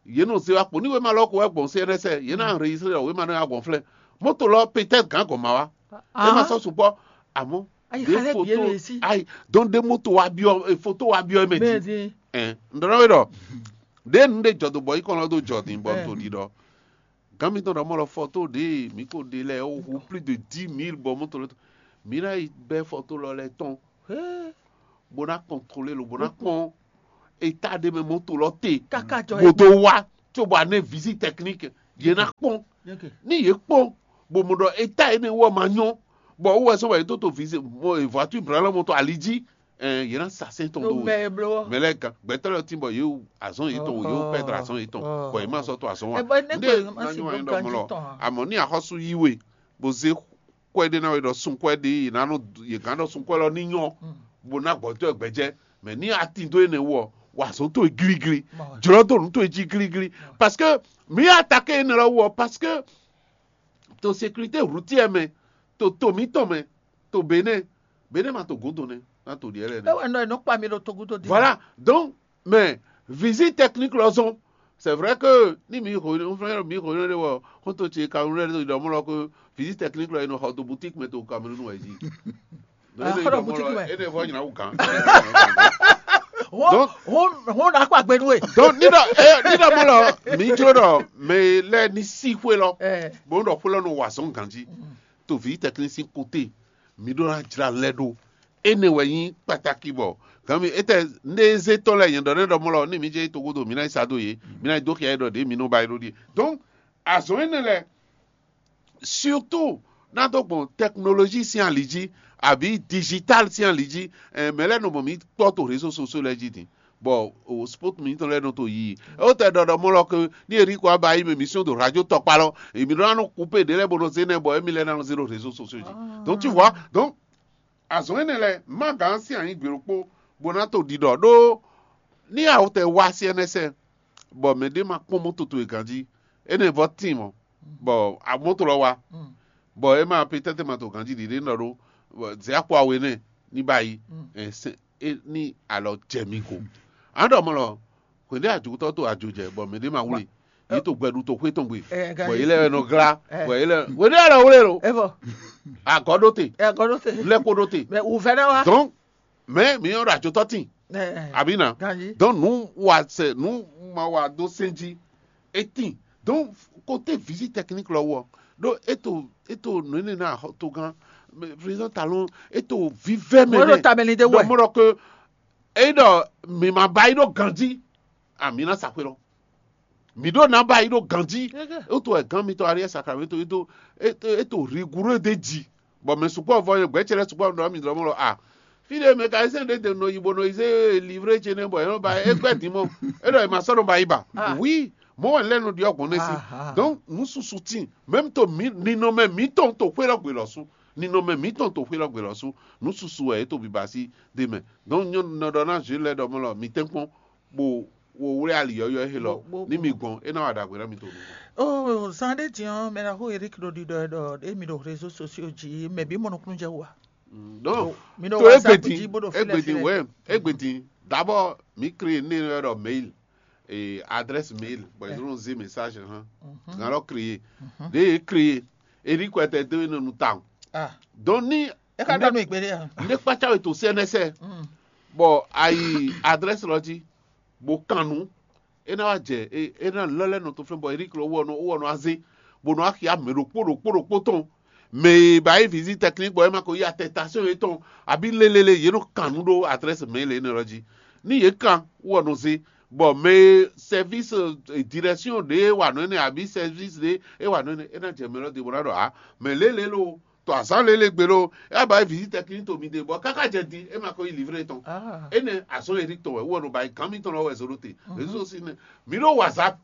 yě nɔ se wá kpo ní wěma lɔ ko wɛ gbɔn C N S yě ná enregistré ɖɔ wěma nɔ ya gbɔn flɛ́ moto lɔ peut-être gǎn gɔn ma wá é ma sɔ́ sukpɔ́ àmọ́ ɖé foto ayi donc ɖé moto wa biɔ foto wa biɔ mɛ jí ɛn n ɖɔ na wé ɖɔ ɖé nu ɖé jɔ do bɔ yi kɔn lɔ do jɔ din bɔ n to ɖi ɖɔ gǎn mi tɔn ɖɔ mɔ lɔ foto ɖé mi ko ɖe lɛ o hu plus de dix mille bɔ moto lɔ mǐ ná yi bɛ́ fɔto lɔ lɛ́ɛ tɔn bó ná kɔntrolé lo bó ná kpɔ́n état ɖé mɛ mɔto lɔ te, káká jɔ bó dó wá, cóbɔ a nɛ visite technique yě ná kpɔ́n. Ní yě kpɔ́n bó mɔ ɖɔ état énɛ́ wɔ ma nyɔ́, bɔ wú wɛ sɔ́ wɛ yě tó to visite voiture branlɔ mɔtɔ ali jí, yě ná sa sɛ́n tɔn dó we. Mɛ lɛ́ɛ gán gbɛtɔ́ lɛ́ɛ tín bɔ yě wu azɔn yětɔn, yě wu pɛdra azɔn yětɔn, bɔ yě má sɔ́ to azɔn wá. Ndé ná nyɔ́ wá nyí ɖɔ mɔ lɔ, amɔ̌ ní axɔ́sú yí we bó zé kwɛ́ ɖé ná wɛ ɖɔ sun kwɛ́ ɖé, yě ná nɔ yě gán ɖɔ sun kwɛ́ lɔ ní nyɔ́, bó ná gbɔ̌tɔ́ ɛ gbɛjɛ. Mɛ ní atin dó énɛ́ wú ɔ, wa zɔn towe gílígílí, jlɔ́ dó nǔ towe jí gílígílí, parce que mǐ atakɛ énɛ́ lɔ wú ɔ, parce que to sécurité routière mɛ, to to mǐtɔn mɛ, to Bénin, Bénin ma to gǔdo nɛ́, ná to ɖiɛ lɛ́ɛ nɛ́. É wɛ nɔ è nɔ kpa mi ɖo togudo din. Voilà, donc, mais visite technique lɔ zɔn. C'est vrai que ni mi xo mi xo ne wɔ xɔntɔ ce Cameroun lɛ ɖɔ mɔ lɔ ko visite technique lɔ e nɔ xɔ to boutique mɛ to Cameroun wɛ jí. Ah, xɔ to boutique mɛ. E ne vɔ nyina wu gan. Wo wo wo na kpa gbenu e. Donc ni dɔ e ni dɔ mɔ lɔ mi jlo dɔ mɛ lɛ ni si xwe lɔ. Eh. Bon dɔ xwe lɔ no wa zɔn ganji. To visite technique si côté. Mi ɖó ná jla lɛ ɖó. Énɛ́ wɛ nyí kpataki bɔ gan mi étɛ ndé zé tɔn lɛ nyɛ ɖɔ nɛ ɖɔ mɔ lɔ ní mi jɛ togodo mi ná yi sa dó yě, mi ná yi dó xia ɖɔ ɖě mi nɔ ba yi ɖó ɖíe. Donc azɔn énɛ́ lɛ surtout ná dó gbɔn technologie sín ali jí, àbí digital sín ali jí. Mɛ lɛ́ɛ nɔ mɔ mi kpɔ́ to réseau sociaux lɛ́ɛ jí din, bɔ o sport mi tɔn lɛ́ɛ nɔ to yi. Ó tɛ ɖɔɖɔ mɔ lɔ ke ní Eric wa ba yi mɛ mission do radio tɔkpa lɔ, èmi ɖɔ nɔ couper ɖě lɛ́ɛ bó nɔ zé nɛ bɔ émi lɛ́ɛ ná nɔ zé ɖo réseau sociaux jí. Donc tu vois, donc azɔn énɛ́ lɛ́ɛ má gǎn sín anyǐ gbe ɖokpó bó ná to ɖiɖɔ ɖó ní awotɛ wá sí ɛnɛ́ sɛ́, bɔ mɛ ɖé ma kpɔ́n mɔ́ toto e ganjí, énɛ́ vɔ tíin mɔ́, bɔ amɔ́ to lɔ wá, bɔ é ma pétɛ́tɛ́ ma to ganjí ɖiɖe nɔ ɖó, zɛ akpo awe nɛ ní ba yi, ní alɔ jɛ mi go. An ɖɔ mɔ lɔ, hwěɖé ajotɔ́ to ajo jɛ, bɔ mɛ ɖé ma wlé, yě to gbɛɖu to xwé tɔn gbe, bɔ yě lɛ wɛ nɔ glá, bɔ yě lɛ hwěɖé alɔ wlé lo, agɔ̌ ɖó te, lɛ́ kó ɖó te. Donc mɛ mi nyɔ́ ɖo ajotɔ́ tíin, abǐ ná. Donc nǔ wa sɛ nǔ ma wa dó sɛn jí, é tíin. Donc côté visite technique lɔ wɔ ɖó é to é to nǔ énɛ́ ná togán, président Talon é to vívɛ́ mɛ. Mɔ̌ ɖo tamɛ ni ɖé wɛ. Mɔ́ ɖɔ ke é ɖɔ mi ma ba yi ɖó ganjí, ami ná sa xwé lɔ. Mi ɖó ná ba yi ɖó ganjí. É to wɛ gán mitɔn Ariel Sacramento é to é to rigoureux ɖé ji. Bɔ mɛ sukpɔ́ vɔ nyɛ gbɛ̌ ce lɛ́ɛ sukpɔ́ ɖɔ mi ɖɔ mɔ lɔ a. Fí ɖé mécanicien ɖé de nɔ yi bó nɔ yi zé livre ce nɛ bɔ é nɔ ba é gbɛ́ din mɔ. É ɖɔ è ma sɔ́ nɔ ba yi ba. Oui, mɔ̌ wɛ lɛ́ nɔ ɖiɔ gbɔn nɛ́ sí. Donc nǔ susu tíin, même to mi ninɔmɛ mǐtɔn to xwé lɔ gbe lɔ sú. Ninɔmɛ mǐtɔn to xwé lɔ gbe lɔ sú. Nǔ susu wɛ é to biba sí ɖe mɛ. Donc nyɔ́ nɔ ɖɔ ná Jules lɛ́ɛ ɖɔ mɔ lɔ mi tɛ́nkpɔ́n bo wo wlé ali yɔ́yɔ́ élɔ́ ní mi gbɔn é ná wa ɖagbe ná mi to nukɔn. Oh, zan ɖé din ɔ́, mɛ ná xó Eric ɖo ɖiɖɔ ɛ ɖɔ émi ɖo réseau sociaux jí, mɛ bí mɔ nukúnnú jɛ wú a? Donc mi ɖo to WhatsApp egbedin jí bó ɖo filɛ egbedin filɛ. Wɛ egbedin d'abord mi créé né yɛ ɖɔ mail et adresse mail bɔ ils ont zé message hã gan lɔ créé de ye créé Eric wɛ tɛ dó nɔ nu tawun. Ah. Donc ni e ka ɖɔ nu ìgbé ɖé a? Ne kpatsa wɛ to C N S bɔ ayi adresse lɔ jí bó kan nǔ é ná wá jɛ é é ná lɔ́ lɛ́ nɔ tó flɛ́n bɔ Eric lɔ wɔ nɔ wɔ nɔ azé bó nɔ axi amɛ ɖokpó ɖokpó ɖokpó tɔn mɛ e ba yi visite technique bɔ é ma ko yi attestation yětɔn abí lélele yě nɔ kan nǔ ɖó adresse mail énɛ́ lɔ jí ní yě kan wɔ nɔ zé bɔ mɛ e service direction ɖé wà nɔ énɛ́ abí service ɖé é wà nɔ énɛ́ é ná jɛ mɛ lɔ dě bó ná ɖɔ a mɛ lélele o to azǎn lélé gbe ɖó é ba yi visite technique to mi ɖe bɔ káká jɛ din é ma ko yi livre tɔn. Énɛ́ azɔn Eric tɔn wɛ wɔ nɔ ba yi gán mitɔn lɔ wɛ zolo te. Réseau si nɛ mi ɖó WhatsApp.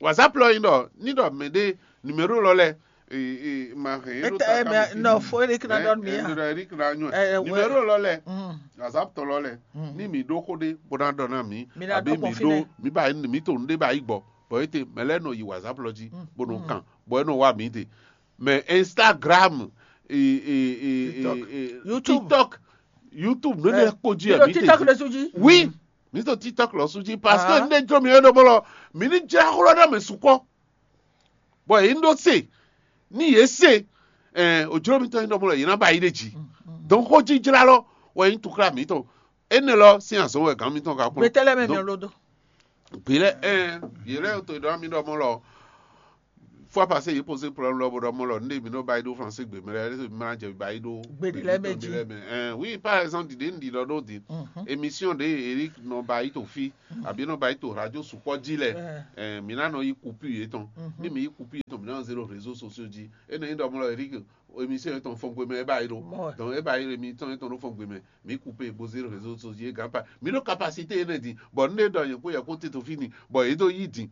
WhatsApp lɔ nyi ɖɔ ní ɖɔ mɛ ɖé numéro lɔ lɛ ma hɛn é ɖo ta ká mi. Nɔ fo Eric na ɖɔ mi ya. Eric na nyɔ numéro lɔ lɛ WhatsApp tɔn lɔ lɛ ní mi ɖó xó ɖé bó ná ɖɔ ná mi àbí mi ɖó mi ba mi to nu ɖé ba yi gbɔ bɔ é te mɛ lɛ nɔ yi WhatsApp lɔ jí bó nɔ kàn bɔ é nɔ wá mi te. Mais Instagram, et, et, et, et, et YouTube. TikTok, YouTube, nous ne ko di mi to TikTok le suji. Oui, mi to TikTok le suji parce que ne jɔ mi eno bolo, mi ni jẹ xlɔ na mi sukɔ. Bon, yi ndo se, ni ye se, eh, o jɔ mi to eno bolo, yi na ba yi de ji. Donc ko ji jla lo, wa yi tukla mi to. Ene lo si azɔn wɛ gan mi to ka ko. Betele me mi lodo. Gbe lɛ ɛ yɛ lɛ to ɖɔ mi ɖɔ mɔ lɔ Fois passé yě posé problème lɔ bó ɖɔ mɔ lɔ nɖe mi nɔ ba yi ɖó français gbe mɛ lɛ mi ma jɛ ba yi ɖó Gbe ɖé lɛ́ɛ mɛ jí. Lɛ mɛ. Ɛn, oui, par exemple ɖiɖe un ɖi lɔ ɖó din. Mhm. Émission ɖe Eric nɔ ba yi to fi abi nɔ ba yi to radio sukpɔ jí lɛ. Ɛn. Ɛn, mi na nɔ yi kupi yetɔn. Mhm. Ni mi yi kupi yetɔn mi na nɔ zé ɖo réseau sociaux jí. E nɔ yi ɖɔ mɔ lɔ Eric émission yetɔn fɔn gbe mɛ e ba yi ɖó. Mɔ. Donc e ba yi ɖo émission yetɔn ɖo fɔn gbe mɛ mi kupi bo zé ɖo réseau sociaux jí e gan pa mi ɖo capacité yetɔn din. Bɔ nɖe ɖɔ yɛ kó yɛ kó tito fi ni bɔ yě ɖo yi din.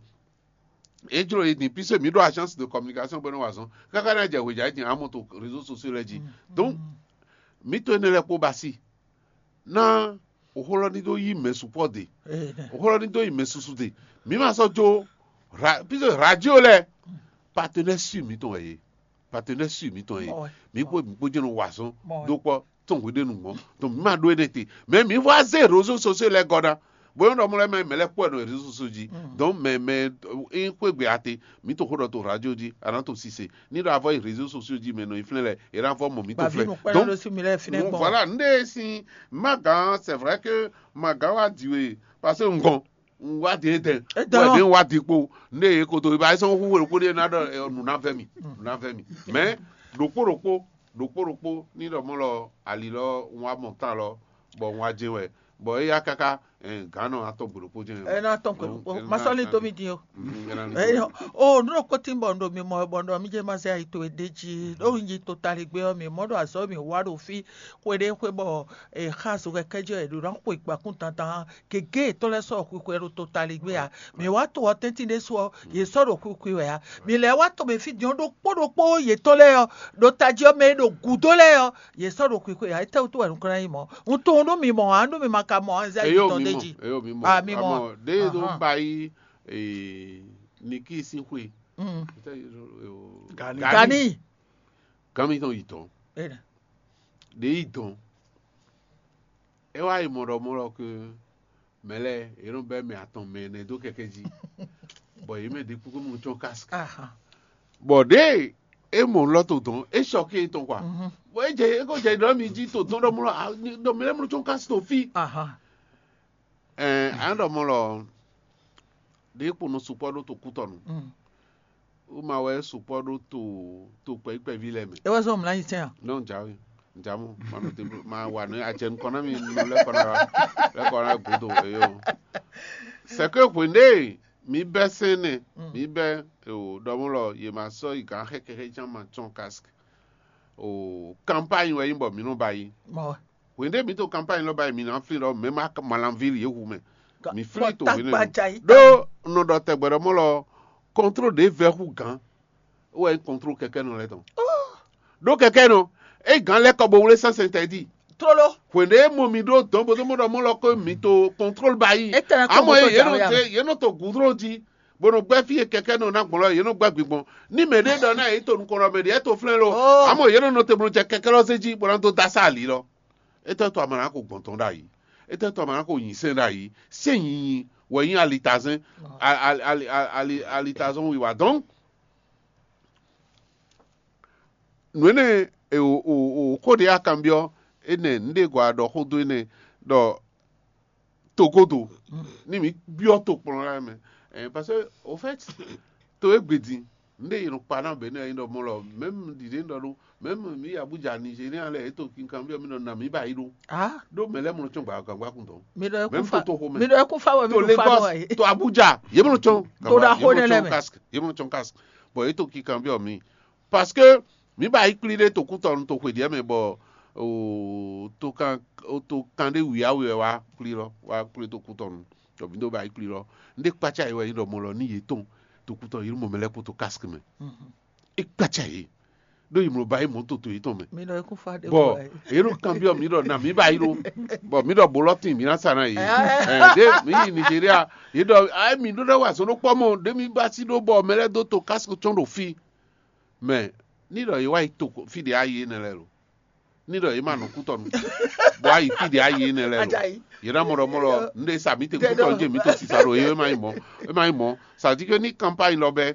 É jló yě din puisque mǐ ɖo agence de communication bɔ é nɔ wa azɔn káká ná jɛ hwějǎ din amɔ to réseau sociaux lɛ́ɛ jí. Donc mǐ to énɛ́ lɛ́ɛ kpó ba sí ná òxó lɔ ní dó yí mɛ sukpɔ́ de. Òxó lɔ ní dó yí mɛ susu de. Mǐ ma sɔ́ jó ra- puisque radio lɛ́ɛ partenaire sûr mǐtɔn wɛ yě. Partenaire sûr mǐtɔn yě. Mǐ kpó mǐ kpó jɛ́n nɔ wa azɔn dó kpɔ́ tɔn hweɖénu mɔ̌. Donc mǐ ma ɖó énɛ́ te. Mais mǐ vɔ azé réseaux sociaux lɛ́ɛ gɔ́ ná. Bóyá ɖɔ mɔ lɛ́ɛ mɛ mɛ lɛ́ɛ kpɔ́ ɛ nɔ réseaux sociaux jí. Donc mɛ mɛ é xwé gbe ate mǐ to xó ɖɔ to radio jí a nǎ to sise ní ɖɔ avɔ yi réseaux sociaux jí mɛ nɔ yi flɛ́n lɛ é ná vɔ mɔ mǐ to Bàbí flɛ́n. Nukpɛ́nɔ Donc ɖo sí mi lɛ́ɛ fínɛ́ gbɔn. Voilà nɖé si ma gǎn c'est vrai que ma gǎn wá di we parce que ŋgɔn un wá di édɛn. Édɛn. Wɛ ɖé un wá di kpo nɖé yě koto ba sɔn xúxú ɖokpó ɖé ná ɖɔ ɛ, nǔ ná vɛ mi nǔ ná vɛ mi. Mais ɖokpó ɖokpó ɖokpó ɖokpó ní ɖɔ mɔ lɔ ali lɔ un wá mɔ tán lɔ bɔ un wá jɛ wɛ bɔ éyá káká gǎn nɔ atɔn gbe ɖokpó jɛ. Ena tɔn ko ko masɔli to mi din o. Eyo o nu ɖokpó tin bɔ ɖo mi mɔ bɔ ɖɔ mi jɛ ma zɛ ayi to e ɖe jí ɖo un yi to tali gbé ɔ mi mɔ ɖo azɔ mi wa ɖo fi xwe ɖe xwe bɔ e xa zo kɛkɛ jɛ ɖo na xwe gbakun tantan gege etɔn lɛ sɔ xwixwe ɖo to tali gbé a mi wa to ɔ tɛntin ɖe su ɔ ye sɔ ɖo xwixwe wɛ a mi lɛ wa to mi fi din ɖokpó ɖokpó yetɔn lɛ ɔ ɖo tají ɔ mɛ ɖo gudo lɛ ɔ ye sɔ ɖo xwixwe a etɛwutu wɛ nukɔn yi mɔ un tunwun nú mi mɔ a nú mi ma ka mɔ anzɛ Eyo yitɔn mi ɖe mɔ, jí. Eyo mi mɔ. Ah, mi mɔ. Amɔ ɖe ɖo Ahan. Ba yi eh, Niki sín xwe. Mm. Gani. Gani. Gami tɔn yi tɔn. Ena. Ɖe yi tɔn. E wa yi mɔ ɖɔ mɔ lɔ ke mɛ lɛ e nɔ bɛ mɛ atɔn mɛ ɛnɛ dó kɛkɛ jí. Bɔ yě mɛ ɖe kúkú mɔ tsɔn casque. Aha. Bɔ ɖe e mɔ lɔ to dɔn e sɔ ke tɔn kwa. Mhm. Bɔ e jɛ e ko jɛ ɖɔ mi jí to dɔn ɖɔ mɔ lɔ a- ɖɔ mi lɛ mɔ tsɔn casque to fi. Aha. Ɛɛ an ɖɔ mɔ lɔ ɖe kpo nɔ sukpɔ ɖo to kutɔnu. Mm. Uma wɛ sukpɔ ɖo to to kpɛkpɛvi lɛ mɛ. E wɛ zɔn mla yi tɛn a? Non, jawe. Jamu, ma nɔ te ma wa ne a jɛ nukɔn na mi nu lɛ kɔn na lɛ kɔn na godo eyo. C'est que hwende mi bɛ sɛnɛ, mi bɛ o dɔmɔ lɔ ye ma sɔ yi gan xɛkɛ xɛ jan ma tsɔn casque. O campagne wɛ yin bɔ mi nɔ ba yi. Mɔ. Hwende mi to campagne lɔ ba yi mi na flin lɔ mɛ ma malanville ye hu mɛ. Mi flin to hwene. Ɖo nɔ ɖɔ tɛgbɛ ɖɔ mɔ lɔ contrôle de vɛ hu gan. Wɛ contrôle kɛkɛ nɔ lɛ tɔn. Ɖó kɛkɛ nɔ e gan lɛ kɔ bo wlé sɛnsɛn tɛ di. Tlóló. Hwende e mɔ mi ɖó dɔn bo dó mɔ ɖɔ mɔ lɔ ko mi to contrôle ba yi. Amɔ ye ye nɔ te ye nɔ to goudron di. Bo nɔ gbɛ fi ye kɛkɛ nɔ na gbɔn lɔ ye nɔ gbɛ gbigbɔn. Ni mɛ ɖe ɖɔ na ye to nukɔn lɔ mɛ ɖe to flɛn lo. Amɔ ye nɔ nɔ te bo nɔ jɛ kɛkɛ lɔ se ji bo na do da sa ali lɔ. Etɛ to amana ko gbɔn tɔn ɖ'ayi. Etɛ to amana ko nyi sɛn ɖ'ayi. Sɛn nyinyi wɛ nyi alitazɛn. Alitazɔn wiwa donc nǔ énɛ́ e o o o xó ɖě a kanbyɔ́ énɛ́ nǔɖé gɔ́ a ɖɔ xó dó énɛ́ ɖɔ togodo ní mǐ byɔ́ tokplɔ́n lɛ́ɛ mɛ. Ɛɛ parce que au fait to e gbe din nǔɖé yi nɔ kpa ná bɛ ní ayi ɖɔ mɔ lɔ mɛm ɖiɖe ɖɔ ɖó mɛm mǐ yi Abuja Nigeria lɛ e to kinkan byɔ́ mi nɔ na mǐ ba yi ɖó. Ah, Ɖó mɛ lɛ́ɛ mɔ nɔ tsɔ́n gbǎgbákun dɔn. Mi ɖɔ Mɛm ɛkún fa to toxo mɛ. Mi ɖɔ ɛkún fa wɛ mi To ɖo fa Lagos, nɔ ɛ. To Abuja, yě mɔ nɔ tsɔ́n. To ɖo axo nɛ lɛ mɛ. Casque, yě mɔ nɔ tsɔ́n casque. Bɔ yě to kinkan byɔ́ mi. Parce que mǐ ba yi kplí ɖé to kútɔnu to xwe ɖiɛ mɛ bɔ o to kan o to kan ɖé wǐyáwǐ wɛ wá kplí lɔ wá kplí to kútɔnu tɔ mǐ ɖo ba yi kplí lɔ. Ndé kpácá yi wɛ nyí ɖɔ mɔ lɔ ní yě tɔn to kútɔnu yě mɔ mɛ lɛ́ kpó to casque mɛ. É kpácá yě ɖó yi mlɔ ba yi mɔ to to yětɔn mɛ. Mi nɔ ekún fa ɖe bɔ yě ɖo kanbyɔ mi ɖɔ na mi ba yi ɖo bɔ mi ɖɔ bolɔ tin mi na sa na yě. Ɛ ɖe mi yi Nigeria yě ɖɔ ayé mi ɖó ɖe wa zɔn ɖó kpɔ mɔ ɖe mi ba si ɖó bɔ mɛ lɛ dó to casque tsɔn ɖo fi mɛ ní ɖɔ yě wa yi to fi ɖe ayi énɛ́ lɛ lo ní ɖɔ yě ma nɔ kútɔnu bɔ ayi fi ɖe ayi énɛ́ lɛ lo. Yě ná mɔ ɖɔ mɔ lɔ nɖe sa mi te kútɔnu jɛ mi to sisa ɖo yě ma yi mɔ é ma yi mɔ sa di ke ní campagne lɔ bɛ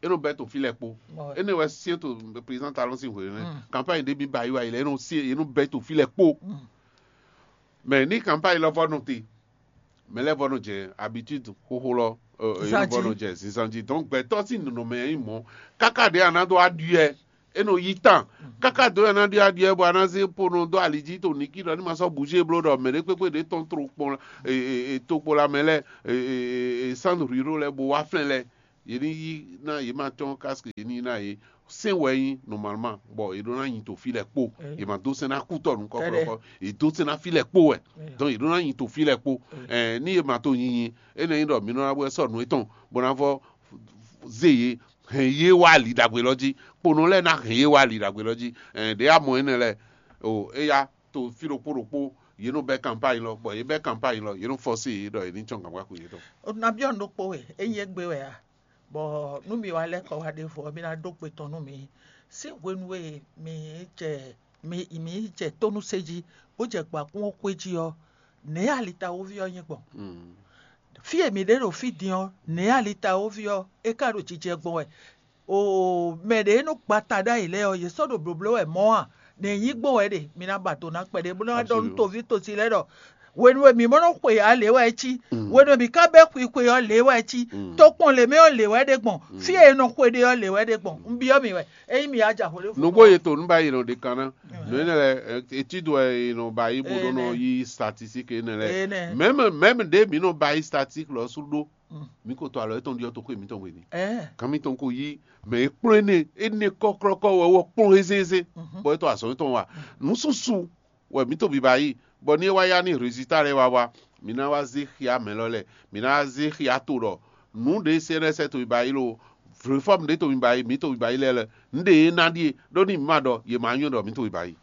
é nɔ bɛ to fi lɛ kpo é nɔ wɛ sie to président talon si hwe ne campagne de mi ba yi wa yi lɛ é nɔ sie é nɔ bɛ to fi lɛ kpo mɛ ní campagne lɔ vɔ nɔ te mɛ lɛ vɔ nɔ jɛ habitude xoxo lɔ Ɔ, e nɔ vɔ nɔ jɛ zinzan jí. Donc gbɛtɔ́ sín nɔnɔmɛ nyí mɔ̌. Káká ɖě a nǎ dó aɖyɔɛ, é nɔ yí tán. Káká dó a nǎ ɖyɔɛ aɖyɔɛ bɔ a nǎ zé ponɔ dó ali jí to nǐkí ɖɔ ní ma sɔ́ bouger bló ɖɔ mɛ ɖé kpékpé ɖě tɔn tro kpɔn tokpo la mɛ lɛ́ɛ, sand ruraux lɛ́ɛ bó wá flɛ́n lɛ́ɛ. Yě ní yí ná yě ma tɔ́n casque, yě ní yí ná yě. Sɛn wɛ nyí normalement, bɔ yě ɖó ná nyi to fí lɛ́ɛ kpó. Yě ma dó sɛn ná kú tɔ nukɔn kplɔkɔ, yě dó sɛn ná fí lɛ́ɛ kpó wɛ. Donc yě ɖó ná nyi to fí lɛ́ɛ kpó. Ní yě ma to nyinyi, é nɔ nyí ɖɔ mi nɔ ná bɔ sɔ́ nǔ étɔn bó ná vɔ zé yě, hɛn yě wá ali ɖagbe lɔ jí. Kponɔ lɛ́ɛ ná hɛn yě wá ali ɖagbe lɔ jí. Ɖě a mɔ énɛ́ lɛ́ɛ o, éya to fí ɖokpó ɖokpó, yě nɔ bɛ́ campagne lɔ, bɔ yě bɛ́ campagne lɔ, yě nɔ fɔ́sé yě ɖɔ yě ní cɔ́n gǎngbákú yětɔn. Nabí ɔ́ ɖokpó wɛ, é nyí égbé wɛ a? Bɔ nú mi wá lɛ́ kɔ wá ɖěvo ɔ́, mi ná ɖó gbe tɔn nú mi. Sín hwenu e mi jɛ mi mi jɛ tónúse jí, bó jɛ gbǎkún ɔ́ xwé jí ɔ́, nɛ̌ alitawóví ɔ́ nyí gbɔn? Fí e mǐ ɖe ɖo fí din ɔ́, nɛ̌ alitawóví ɔ́ é ka ɖo jijɛ gbɔn wɛ? Oo, mɛ ɖě e nɔ gba ta ɖ'ayǐ lɛ́ɛ ɔ́, yě sɔ́ ɖo blǒbló wɛ mɔ̌ a? Nɛ̌ nyí gbɔn wɛ ɖe? Mi ná ba do ná kpɛɖé bó ná ɖɔ nú toví tosi lɛ́ɛ ɖɔ hwenu e mǐ mɔ nɔ xwe ǎ lě wɛ é cí, hwenu e mǐ ka bɛ́ xwixwe ɔ́ lě wɛ é cí, tokpɔn lě mɛ ɔ́ lě wɛ é ɖe gbɔn, fí e è nɔ xwe ɖe ɔ́ lě wɛ é ɖe gbɔn. Un byɔ́ mi wɛ, ényí mi yá ja hwelé. Nǔgbó yě to nú ba yi nɔ ɖe kan ná. Nǔ énɛ́ lɛ́ɛ, étude wɛ è nɔ ba yi bó ɖó nɔ yí statistique énɛ́ lɛ́ɛ. Mɛ̌m mɛ̌m ɖě mǐ nɔ ba yi statistique lɔ sú ɖó, mǐ ko to alɔ étɔn ɖyɔ́ toxo mǐtɔn hwenu. Kan mǐtɔn ko yí mɛ e kplɔ́n énɛ́ énɛ́ kɔ́klɔ́kɔ́ wɛ wɔ kplɔ́n ézézé, bɔ é tɔ́ azɔ̌ étɔn wa. Nǔsúsú wɛ mǐ to biba yi, bɔ ní é wá yá ní résultat lɛ́ɛ wá wá, mǐ ná wá zé xia mɛ lɔ lɛ́ɛ, mǐ ná wá zé xia to ɖɔ nǔ ɖě C N S to biba yi lo, réforme ɖě to biba yi, mǐ to biba yi lɛ́ɛ lɛ, nǔ ɖě e ná ɖíe, ɖó ní mǐ ma ɖɔ yě ma nyɔ́ ɖɔ mǐ to biba yi.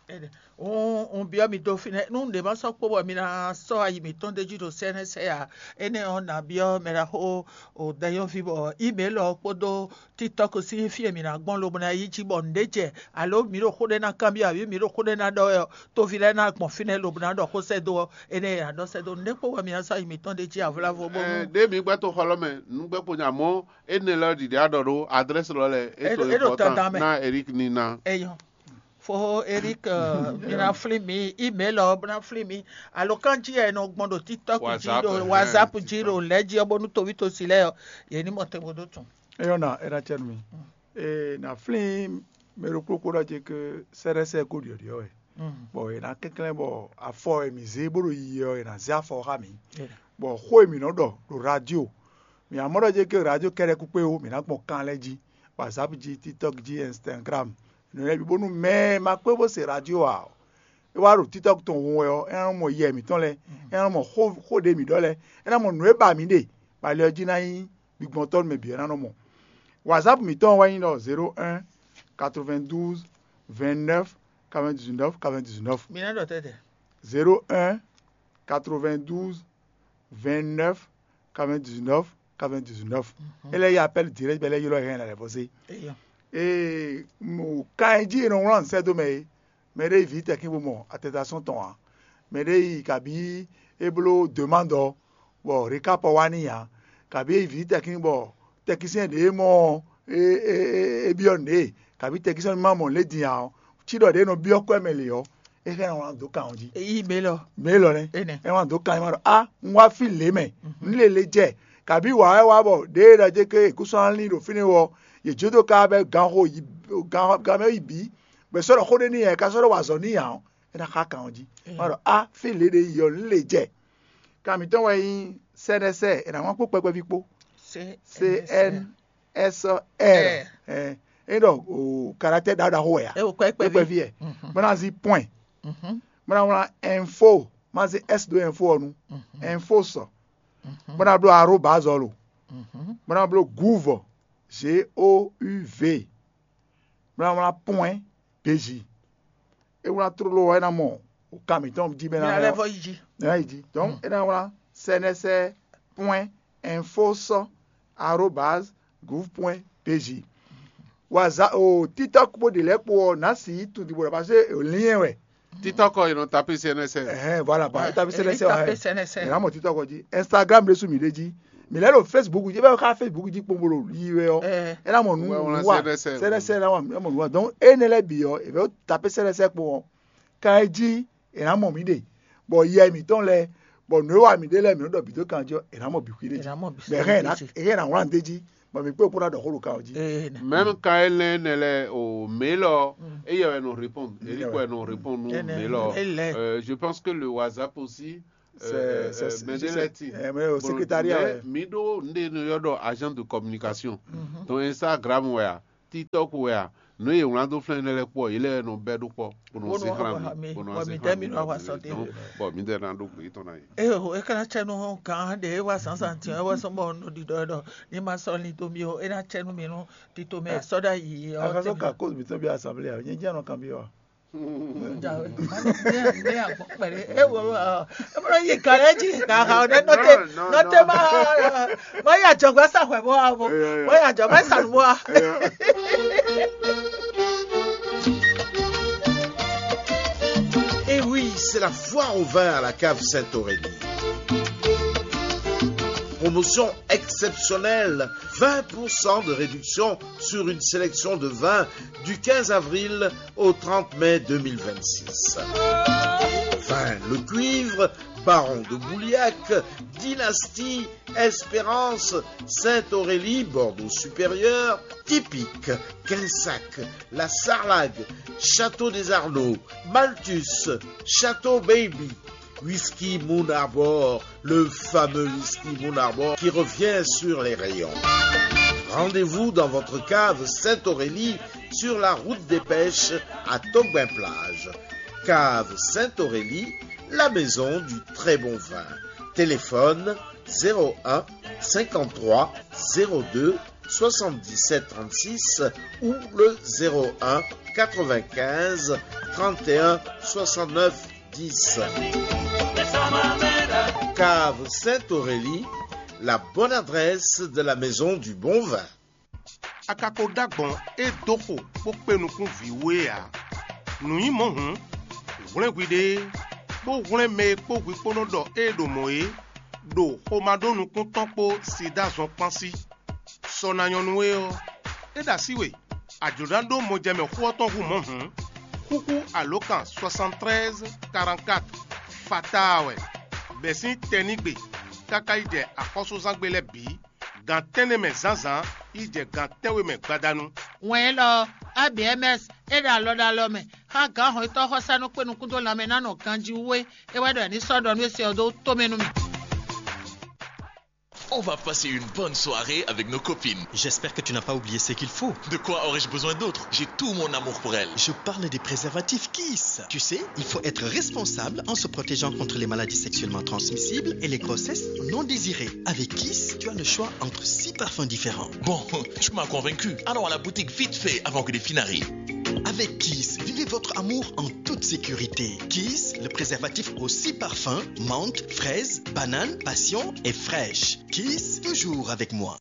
Un byɔ́ mi dó fínɛ́, nú ɖě ma sɔ́ kpó bɔ mi ná sɔ́ ayi mǐtɔn d'é jí ɖo C N S ǎ, énɛ́ ɔ́, nǎ byɔ́ mɛɖaxó Danyɔ́ví bɔ email ɔ́ kpódó TikTok sín fí e mǐ ná gbɔn lobo ná yi jí bɔ nǔɖé jɛ, alo mǐ ɖo xó ɖé ná kanbyɔ́, abǐ mǐ ɖo xó ɖé ná ɖɔ wɛ ɔ́, toví lɛ́ɛ ná gbɔn fínɛ́ lobo ná ɖɔ xó sɛ́ dó ɔ́, énɛ́ e a ɖɔ sɛ́ dó nǔɖé kpó wɛ mǐ ná sɔ́ yi mǐtɔn ɖ'é jí avlávo bónú. Ɖé mi gbɛ́ to xɔ lɔ mɛ, nǔ gbɛ́ kpo nya mɔ̌, énɛ́ lɔ ɖiɖi a ɖɔ ɖó adrɛ́si lɔ lɛ, é to É ɖo important tanta mɛ. Ná Eric ní ná. Eyɔn. Fo Eric, mi ná flín mi, email ɔ́ bó ná flín mi. Alo kán jí ɛ nɔ gbɔn ɖo TikTok jí, WhatsApp, ɖo eh, WhatsApp jí, TikTok. Ɖo lɛ̌ jí ɔ́, bónú toví tosi lɛ́ɛ ɔ́, yě ní mɔ tɛnbó dó tun. Eyɔ́ ná é ná cɛ nú mi. Ee, ná flín mɛ ɖokpó kpó ɖɔ ce ke sɛ́ɖɛ́sɛ́ kó ɖiɔ̌ɖiɔ̌ wɛ. Bɔ è nǎ kɛnklɛ́n bɔ afɔ e mǐ zé bó ɖo yiyi ɔ́, è nǎ zé afɔ ɔ́ xá mǐ. Bɔ xó e mǐ nɔ ɖɔ ɖo radio, mǐ ná mɔ ɖɔ jɛ ke radio kɛ́ɖɛ́ kúkpé ó, mǐ ná gbɔn kan lɛ́ɛ jí, WhatsApp jí, TikTok jí, Instagram, nǔ lɛ́ɛ bǐ, bónú mɛ e ma kpé bó se radio ǎ ɔ́, é wá ɖo TikTok tɔn hun wɛ ɔ́, é ná nɔ mɔ yɛ mǐtɔn lɛ́ɛ, é ná nɔ mɔ xó xó ɖé mǐ ɖɔ lɛ́ɛ, é ná mɔ nǔ e ba mǐ ɖe, bɔ ali ɔ́ jí ná nyí gbigbɔntɔ́ nú mɛ bǐ wɛ ná nɔ mɔ. WhatsApp mǐtɔn wɛ nyí ɖɔ zéro un quatre-vingt-douze vingt-neuf quatre-vingt-dix-neuf quatre-vingt-dix-neuf. Mi ná ɖɔ tɛ́tɛ. Zéro un quatre-vingt-douze vingt-neuf quatre-vingt-dix-neuf quatre-vingt-dix-neuf. É lɛ́ yí appel direct bɛ lɛ́ ylɔ́ hɛn lɛ vɔ sé. Eyɔ. Ee, mo kan e jí e nɔ wlán sɛ́ dó mɛ é. Mɛ ɖé yi vǐ tɛkín bó mɔ attestation tɔn ǎ. Mɛ ɖé yi kabí é bló demande ɔ́, bɔ récap ɔ́ wá n'i ǎ. Kabí é yi vǐ tɛkín bɔ tɛkísyɛn ɖě mɔ ɔ́, é é é é byɔ́ nǔɖé, kabí tɛkísyɛn ma mɔ lě din ǎ ɔ́, cí ɖɔ ɖě nɔ byɔ́ kwɛ́ mɛ lě ɔ́, é hɛn ná wlán dó kan ɔ́ jí. Yi mɛ lɔ. Mɛ élɔ́ nɛ́. Énɛ́. É wá dó kan ɛ má ɖɔ á, un wá fí lě mɛ, un lé lě jɛ, kabí wǎ wɛ wá bɔ ɖěe ɖɔ jɛ ké è kú sɔ́ ná lín ɖo fínɛ́ ɔ́, yě jó dó ká bɛ́ ganxo yi gan gan mɛ yi bǐ, bɔ è sɔ́ ɖɔ xó ɖé n'i ǎ, è ka sɔ́ ɖɔ wa azɔ̌ n'i ǎ ɔ́, é ná xá kan ɔ́ jí. Má ɖɔ á, fí lě ɖe yi ɔ́, un lé jɛ. Kan mǐtɔn wɛ nyí sɛ́nɛsɛ, è nǎ wlán kpó kpɛkpɛví kpó. C N S R. Ɛ, é ɖɔ o caractère ɖaxó ɖaxó wɛ ya. É o kpɛkpɛví. Kpɛkpɛví yɛ. Bó ná zí point. Bó ná wlán info, má zí s ɖó info ɔ́ nu. Info sɔ. Bó ná bló arobase ɔ́ lo. Bó ná bló gouv, G O U V. Bó ná wlán point B J. É wlán tlóló ɔ́, é ná mɔ kan mǐtɔn jí bɛ́ ná Mǐ ná lɛ́ lɛ́ vɔ yi jí. Ná yi jí. Donc é ná wlán sɛnɛsɛ point info sɔ arobase gouv point B J. Waza o TikTok bó ɖe lɛ́ kpo ɔ́, nǎ si yi tun ɖibo ɖɔ parce que lien wɛ. TikTok ɔ́, è nɔ tapé C N S R. Ɛhɛn, voilà, ba tapé C N S R. Tapé C N S R. Ɛ ná mɔ TikTok ɔ́ jí. Instagram ɖésú mǐ ɖe jí. Mǐ lɛ́ ɖo Facebook jí, bɛ́ xá Facebook jí kpombo ɖo yi wɛ ɔ́. Ɛ ná mɔ nǔ wá. C N S R ná mɔ nǔ wá. Donc énɛ́ lɛ́ɛ bǐ ɔ́, è vɛ́ tapé C N S R kpo ɔ́, kan é jí è nǎ mɔ mǐ ɖe, bɔ yɛ mǐtɔn lɛ́ɛ Bɔ nǔ e wa mǐ ɖe lɛ́ɛ mǐ nɔ ɖɔ bǐ dó kan jí ɔ́, è nǎ mɔ bǐ xwí ɖé jí. Mɛ hɛn è nǎ wlán dé jí, bɔ mǐ kpé kpó ná ɖɔ xó ɖo kan ɔ́ jí. Mɛ̌m ka é lɛ́n nɛ́ lɛ́ɛ o mǐ lɔ, éyɛ́ wɛ nɔ répondre, Eric wɛ nɔ répondre nú mǐ lɔ. Euh, je pense que le WhatsApp aussi, euh, euh, mɛ ɖé lɛ́ɛ ti. Bon, secrétariat, mais mǐ ɖó nɖé nɔ ylɔ́ ɖɔ agent de communication. Donc Instagram wɛ a, TikTok wɛ a, nǔ e yě wlán dó flɛ́n nɛ́ lɛ́ɛ kpó ɔ́, yě lɛ́ɛ nɔ bɛ́ ɖó kpɔ́, bó nɔ zé xlán mǐ, bó nɔ zé xlán mǐ. Bɔ mǐdɛɛ ná ɖó gbe tɔn ná yi. Eo, é ka ná cɛ nú gǎn ɖě é wá zǎnzǎn din ɔ́, é wɛ zɔ́n bɔ un ɖo ɖiɖɔ ɛ ɖɔ ní ma sɔ́ lin dó mì ó, é ná cɛ nú mì nú tito mɛ sɔ́ ɖ'ayǐ ɔ́. Axɔ́sú ka kóso mǐtɔn byɔ́ asanblée ǎ, nyɛ jɛ́n nɔ kanbyɔ́ ǎ. Ní agbɔn kpɛɖé, é wo ɔ, é mɔ yi gǎn lɛ́ jí, gǎn ha ɔ́ nɛ nɔte, nɔte ma, ma yi ajɔgbá sa hwɛ bó wa bo, ma yi ajɔgbá sa nǔ bó wa. Et oui, c'est la foire au vin à la cave Sainte-Aurélie. Promotion exceptionnelle, vingt pour cent de réduction sur une sélection de vins du quinze avril au trente mai deux mille vingt-six. Vin Le Cuivre, Baron de Bouliac, Dynastie, Espérance, Sainte-Aurélie, Bordeaux Supérieur, Typique, Quinsac, La Sarlague, Château des Arnaud, Malthus, Château Baby, Whisky Moon Arbor, le fameux whisky Moon Arbor qui revient sur les rayons. Rendez-vous dans votre cave Sainte-Aurélie sur la route des Pêches à Togbin-Plage. Cave Sainte-Aurélie, la maison du très bon vin. Téléphone zéro un cinquante-trois zéro deux soixante-dix-sept trente-six ou le zéro un quatre-vingt-quinze trente et un soixante-neuf dix. Cave Sainte-Aurélie, la bonne adresse de la maison du bon vin. A ka ko ɖó agbɔ̌n e dó xo bó kpé nukún vǐ we ǎ. Nǔ nyí mɔ̌ hǔn, hwlɛ́n hwiɖée, bó hwlɛ́n mɛ e kpó hwi kpó nɔ ɖɔ ée ɖo mɔ̌ é, ɖo xomá ɖó nukún tɔn kpó sida zɔn kpán sí. Sɔ ná nyɔ́ nú we ɔ́, é ɖo así we, a jlǒ ná ɖó mɔjɛmɛ xó ɔ́ tɔn hú mɔ̌ hǔn, xúxú alǒkan soixante-treize quarante-quatre fataa wɛ, bɛ̌ sín tɛnígbe káká yi jɛ axɔ́súzángbe lɛ́ɛ bǐ, gan tɛ́nnɛ mɛ zǎnzǎn yi jɛ gan tɛ́nwe mɛ gbadanu. Wɛn élɔ́ ɔ́, A B M S é ɖo alɔ ɖo alɔ mɛ xá gǎn hɔnnyitɔ́ xɔsánú kpé nukún dó lanmɛ ná nɔ ganjí wú é. É wɛ ɖɔ è ní sɔ́ ɖɔ nú é se ɔ́ dó tó mɛ nú mì. On va passer une bonne soirée avec nos copines. J'espère que tu n'as pas oublié ce qu'il faut. De quoi aurais-je besoin d'autre ? J'ai tout mon amour pour elles. Je parle des préservatifs Kiss. Tu sais, il faut être responsable en se protégeant contre les maladies sexuellement transmissibles et les grossesses non désirées. Avec Kiss, tu as le choix entre six parfums différents. Bon, tu m'as convaincu. Allons à la boutique vite fait avant que les filles n'arrivent. Avec Kiss, vivez votre amour en toute sécurité. Kiss, le préservatif aux six parfums, menthe, fraise, banane, passion et fraîche. Kiss, toujours avec moi.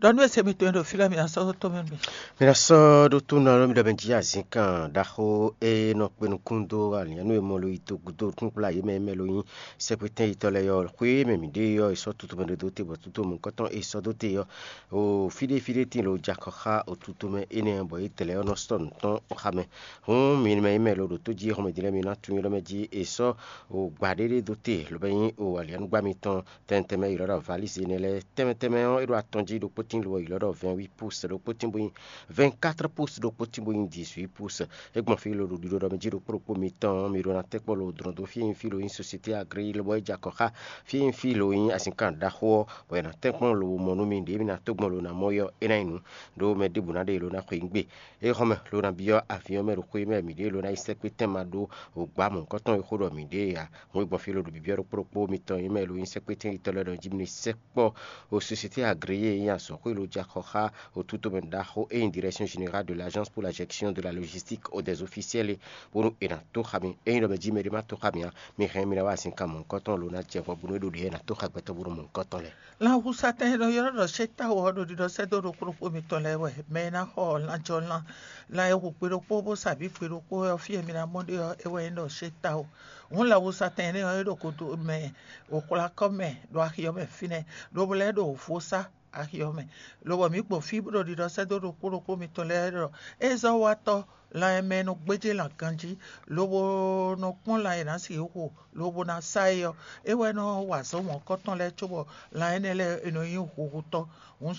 Ɖɔ nú ese mitɔn e ɖo fí lɛ́ɛ, mi ná sɔ́ tó mɛ nú mi. Mi ná sɔ́ ɖó tó nɔ lómi ɖɔ mɛ jí azǐnkan ɖaxó e nɔ kpe nukún dó aliǎn nú e mɔ lo yi togudo nukúnkplá yě mɛ e mɛ lo nyí sɛ́kpétɛ́n yitɔ́ lɛ́ɛ ɔ́, xwé e mɛ mǐ ɖe ɔ́, è sɔ́ tutomɛ ɖé dó te bɔ tutomɛ nukɔntɔn e sɔ́ dó te ɔ́, o fí ɖé fí ɖé tíin lo jɛ akɔ xá o tutomɛ énɛ́ ɔ́, bɔ yě dlɛ̌ ɔ́ nɔ sɔ́ nǔ tɔn xá mɛ. Hǔn mi mɛ e mɛ lo ɖo tó jí e xɔmɛ din lɛ́ɛ, mi ná tunwun lɔ́ mɛ jí è sɔ́ o gbǎ ɖé ɖé dó te, lobo nyí o aliǎnúgbá mitɔn tɛnmɛ tɛnmɛ e ylɔ́ ɖɔ valízi énɛ́ lɛ́ɛ. Tɛnmɛ tɛnmɛ ɔ́, é ɖo atɔn jí, ɖokpó tíin lo ylɔ́ ɖɔ vingt-huit pouces, ɖokpó tíin bó nyí vingt-quatre pouces, ɖokpó tíin bó nyí dix-huit pouces. É gbɔn fí lo ɖo ɖiɖɔ ɖɔ mɛ jí ɖokpó ɖokpó mitɔn ɔ́, mi ɖó ná tɛ́ kpɔ́ lo dlɔ̌n dó fí e nyí fí lo nyí Société Agréé lobɔ é jɛ akɔ xá fí e nyí fí lo nyí azinkan ɖaxó ɔ́, bɔ è nǎ tɛ́ kpɔ́n lo mɔ nú mi ɖě mi ná tó gbɔn lo ná mɔ yɔ é ná nyí nǔ ɖó mɛ ɖěbǔ ná ɖe lo ná xweyǐgbe. Éhɔ́mɛ lo ná byɔ́ avyɔ́ mɛ ɖo xwé mɛ mǐ ɖe lo ná yi sɛ́kpé tɛn ma ɖó wǒgbá mɔ̌hunkɔtɔn e xó ɖɔ mǐ ɖe ǎ. Hǔn é gbɔn fí lo ɖo byɔ́byɔ́ ɖokpó ɖokpó mitɔn e mɛ lo nyí sɛ́kpétɛn yitɔ́ lɛ́ɛ ɖɔ jí mi ní sɛkpɔ́ o Société Agréé e nyí azɔ̌xwé lo jɛ axɔ xá o tutomɛ ɖaxó e nyí Direction Générale de l'Agence pour la Gestion de la Logistique et des Officiels é, bónú è nǎ tó xa mi. Ényí ɖɔ mɛ jí mɛɖé má tó xa mi ǎ, mi hɛn mi ná wá azinkan mɔ̌hunkɔtɔn lo ná jɛ hwɛ bónú é ɖo ɖě ná tó xa gbɛtɔ́ bónú mɔ̌hunkɔtɔn lɛ́ɛ. Lan husa tɛn e nɔ ylɔ́ ɖɔ Shétáwɔ ɔ́ ɖo ɖiɖɔ sɛ́ dó ɖokpó ɖokpó mitɔn lɛ́ɛ wɛ. Mɛ e ná xɔ lanjɔlan, lan e hu gbe ɖokpó bó sa bǐ gbe ɖokpó ɔ́, fí e mi ná mɔ ɖe ɔ́, é wɛ nyí ɖɔ Shétáwɔ. Hǔn lan husa tɛn énɛ́ ɔ́, é ɖo kodo mɛ, wǒxwlákɔ mɛ, ɖo axi ɔ́ mɛ fínɛ́, lobo lɛ́ ɖo vo sá. axi ɔ́ mɛ, lobɔ mǐ gbɔn fí bó ɖo ɖiɖɔ sɛ́ dó ɖokpó ɖokpó mitɔn lɛ́ɛ ɖɔ ézɔ́watɔ́ lan e mɛ e nɔ gbéjé lan ganjí, lobo nɔ kpɔ́n lan e nǎ sixú xo, lobo ná sá é ɔ́, é wɛ nɔ wa azɔ̌ mɔ̌hunkɔtɔn lɛ́ɛ cóbɔ lan énɛ́ lɛ́ɛ è nɔ nyí huhutɔ́. Hǔn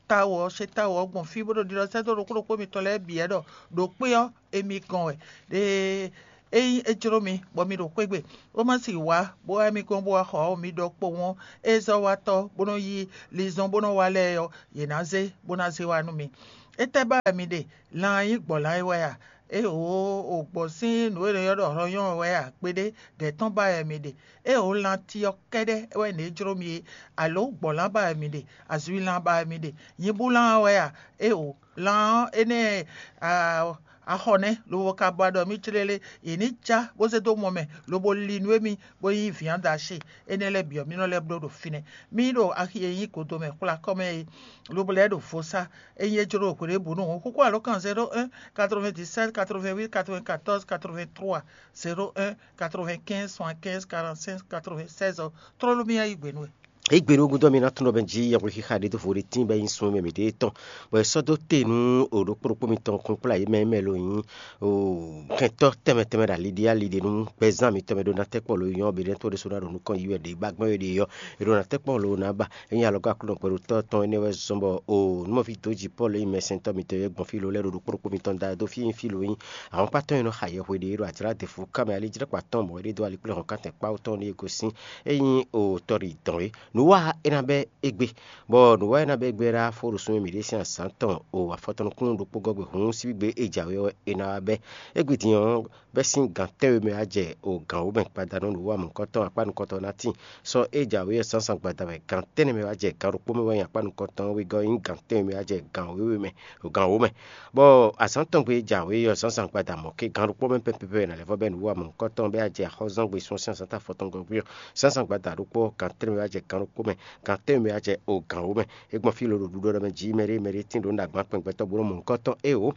táwo ɔ́, sé táwo ɔ́ gbɔn fí bó ɖo ɖiɖɔ sɛ́ dó ɖokpó ɖokpó mitɔn lɛ́ɛ bǐ wɛ ɖɔ ɖo kpé ɔ́, émí gɔ́n wɛ. Ɖe ényí é jló mi bɔ mi ɖo xwé gbe, bó má sì wá, bó wá émí gɔ́n bó wá xɔ ɔ́, mi ɖɔ kpowun ɔ́, ézɔ́watɔ́ bó nɔ́ yí linzɔn bó nɔ́ wá lɛ́ɛ ɔ́, yě ná zé, bó ná zé wá nú mi. Étɛ́ ba wɛ mi ɖe? Lan nyí gbɔ̌ lan é wɛ a? Éeǒ, o gbɔ̌ sín nǔ e è nɔ ylɔ́ ɖɔ hlɔ̌nyɔ́ ɔ́ wɛ a? Kpéɖé, ɖɛ̌ tɔn ba wɛ mi ɖe? Éeǒ, lanti ɔ́ kɛ́ɖɛ́ wɛ ně jló mi é, alǒ gbɔ̌ lan ba wɛ mi ɖe? Azwi lan ba wɛ mi ɖe? Nyibú lan ɔ́ wɛ a? Éeǒ, lan ɔ́ énɛ́ a, axɔ nɛ́, lobo ka ba ɖɔ mì clélé, yě ní cá bó zé dó mɔ mɛ, lobo li nú émí, bó nyí vǐnadashi. Énɛ́ lɛ́ɛ bǐ ɔ́, mì nɔ lɛ́ bló ɖo fínɛ́. Mì ɖo axi e nyí godomɛ xwlá kɔ́ mɛ é, lobo lɛ́ ɖo vo sá. Ényí é jló ɖo hweɖěbǔnu hǔn, xúxú alǒkan zéro un quatre-vingt-dix-sept quatre-vingt-huit quatre-vingt-quatorze quatre-vingt-trois, zéro un quatre-vingt-quinze soixante-quinze quarante-cinq quatre-vingt-seize ɔ́, tlóló mì yá yí gbe nú we. Égbé ɖo gúdo ɔ́, mi ná tunɔ bɛn jí yɛhwexixa ɖé dó vo ɖé tín bɔ é nyí sun mɛ mǐɖée tɔn, bɔ è sɔ́ dó te nú o ɖokpó ɖokpó mitɔn kún kplá yě mɛ e mɛ lo nyí o kɛntɔ́ tɛnmɛ tɛnmɛ ɖo ali ɖé ali ɖé nú gbɛzán mitɔn mɛ ɖó ná tɛ́ kpɔ́ lo nyɔ́ ɔ́, bǐ ɖɛ́ tó ɖésú ná ɖo nukɔn yi wɛ ɖě ba gbɛ́ wɛ ɖě ɔ́, è ɖo ná tɛ́ kpɔ́ lo ná ba. É nyí alɔgɔ́ Aklúnɔ kpɛɖotɔ́ tɔn énɛ́ wɛ zɔ́n bɔ o nǔmɔví dǒ jǐ Pɔ́lu e nyí mɛsɛntɔ́ mitɔn e gbɔn fí lo lɛ́ɛ ɖo ɖokpó ɖokpó mitɔn da dó fí e nyí fí lo nyí ahɔ̌nkpatɔ́ e nɔ xa yɛhwe ɖě ɖo ajlǎ ɖěvo ká mɛ ali jlɛ́kpa tɔn mɔ̌ é ɖe dó ali kplé hɔn ká tɛn kpá tɔn ɖíe gosín. É nyí o tɔɖi dɔn é. Nǔ wa é ná bɛ́ égbé, bɔ nǔ wa é ná bɛ́ égbé ɖá fó ɖo súnmí mǐɖée sín azǎn tɔn o afɔtɔn nukúnnú ɖokpó gɔ́ gbe hǔn síbígbe e jǎwe ɔ́ è nǎ wá bɛ́. Égbé din ɔ́, bɛ́ sín gǎn tɛ́nwe mɛ wá jɛ o gǎn wǒ mɛ gbadanu nǔ wa mɔ̌hunkɔtɔn akpá nukɔntɔn ná tíin. Sɔ e jǎwe ɔ́ zǎnzǎn gbada wɛ gǎn tɛ́nnɛ mɛ wá jɛ gǎn ɖokpó mɛ wɛ nyi akpá nukɔntɔn wegɔ́ nyí gǎn tɛ́nwe mɛ wá jɛ gǎn wěwe mɛ, gǎn wǒ mɛ. Bɔ azǎn tɔn gbe jǎwe ɔ́ zǎnzǎn gbada mɔ̌ ké gǎn ɖokpó mɛ pɛ́pɛ́pɛ́ ná lɛ́ vɔ bɛ́ nǔ wa mɔ̌hunkɔtɔn bɛ́ wá jɛ axɔ́zán gbe sún sín azǎn ta afɔtɔn gɔ́ gbé ɔ́, zǎnzǎn gbada ɖokpó gǎn tɛ́nnɛ mɛ wá jɛ gǎn ɖokpó mɛ, gǎn tɛ́nnɛ mɛ wá jɛ o gǎn wǒ mɛ. É gbɔn fí lo ɖo ɖuɖɔ ɖɔ mɛ jí mɛ ɖé mɛ ɖé tín ɖǒ nú agbǎn kpɛn gbɛtɔ́ bó nɔ́ mɔ̌hunkɔtɔn é o.